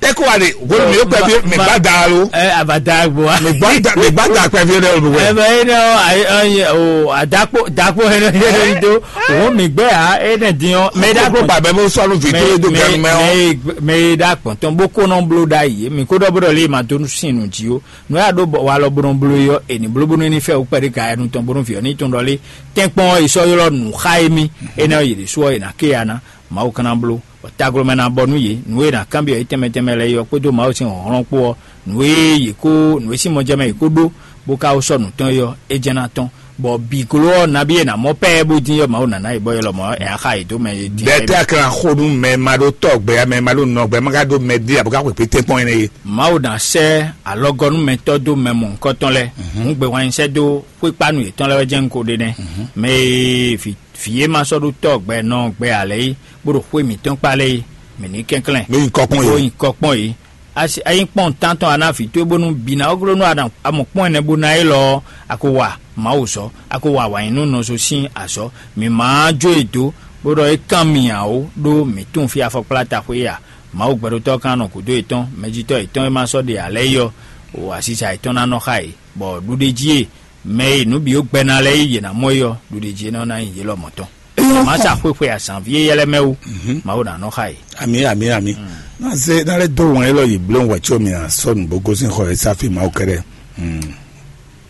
Tɛ́kɔ wa de, wolo mi yóò kpɛví mi gbá da lo. Ɛ abada gbo wa. Mi gbá da mi gbá da kpɛví rẹ o wɛ. Ɛ bɛ yín náà o adakpo dakpo yẹn náà yẹn do. Òun mi gbɛ ya ɛ nɛ dín ɔ mɛ da kpɔn. Kó bàbá bó sɔnu fi tó do ganu mɛ ɔ. Mɛ da kpɔn tɔn bó kó nɔ blo da yìí mi kó dɔ bó dɔ lé ma dó sin nu jí o. Nú yà ɖó wa lɔ bó nɔ blo yɔ ènì blóbónú ní fɛ wú kpɛɖé ka ɛnu tɔn bónú fi ɔ ní tɔn ɖɔ lé. Tɛ́nkpɔ́n ɔ yi sɔ́ ylɔ́ nǔ xá émí. Énɛ́ ɔ́ yě ɖésú ɔ́ è nǎ ké ya ná. Mawu ka ná bló, bɔ taglomɛ ná bɔ nú yě, nǔ e è nǎ kanbyɔ́ yě tɛnmɛ tɛnmɛ lɛ́ɛ é ɔ́ kpódó Mawu sín hlɔ̌nhlɔ́n kpó ɔ́, nǔ e yě kó nǔ e sín mɔ jɛ mɛ yě kó ɖó, bó ka wó sɔ́ nǔ tɔn é ɔ́, é jɛ́n ná tɔ́n, bɔ bǐ gló ɔ́ nabí è nǎ mɔ pɛ́ɛ bó dín ɔ́, Mawu ná ná yě bɔ é lɔmɔ̌ ɛ á xa yě dó mɛ e dín. Bɛ́ tɛ́ a ka ná xo nú mɛ e ma ɖó tɔ́ gbɛ ǎ, mɛ e ma ɖó nɔ gbɛ, ma ka ɖó mɛ ɖé ǎ, bó ka xwekpé tɛ́nkpɔ́n énɛ́ é. Mawu ná sɛ́ alɔgɔ́númɛtɔ́ dó mɛ mɔ̌hunkɔtɔn lɛ́ɛ, hǔn gbɛhwan nyi sɛ́ dó xwékpánu yětɔn lɛ́ɛ wɛ jɛ́n un ko ɖe nɛ́. Mɛ e vǐ vǐ e ma sɔ́ ɖó tɔ́ gbɛ nɔ gbɛ ǎ lɛ́ɛ é, bó ɖo xwé mǐtɔn kpá lɛ́ɛ é, mǐ ní kɛnklɛ́n. Mí nyi kɔ kpɔ́n yě. Ó nyi kɔ kpɔ́n yě. Asi a nyí kpɔ́n tántɔn a ná vǐ towe bónú bǐ ná ɔ́ gló nú a mɔ kpɔ́n ɛnɛ bó ná élɔ́ ɔ́, a ko wa Mawu zɔ, a ko wa awǎnyínú nɔ so sín azɔ̌. Mǐ ma jó e dó, bó ɖɔ é kán mì ǎ ó, ɖó mǐ tunwun fí afɔkplá taxwé é ǎ. Mawu gbɛɖotɔ́ ɔ́ ka nɔ gǔdo yětɔn, mɛjitɔ́ yětɔn e ma sɔ́ ɖe ǎ lɛ́ɛ é ɔ́, o asisa yětɔn ná nɔ xá yě, bɔ ɖuɖéjí e mɛ e nǔ bǐ ó gbɛ ná lɛ́ɛ yí yě ná mɔ é ɔ́, ɖuɖéjí é nɔ ná nyí yě lɔmɔ̌ tɔn. Má sa xwexwe azǎnví éyɛ́ lɛ́ɛ mɛ wú, Mawu ná nɔ xá yě. Ami, ami, ami. Ná zé ná lɛ́ dó wɛn élɔ́ yi bló wɛ̌ có mi ná sɔ́ nǔgbó gosín xɔ e sáfí Mawu kɛ́ɖɛ́.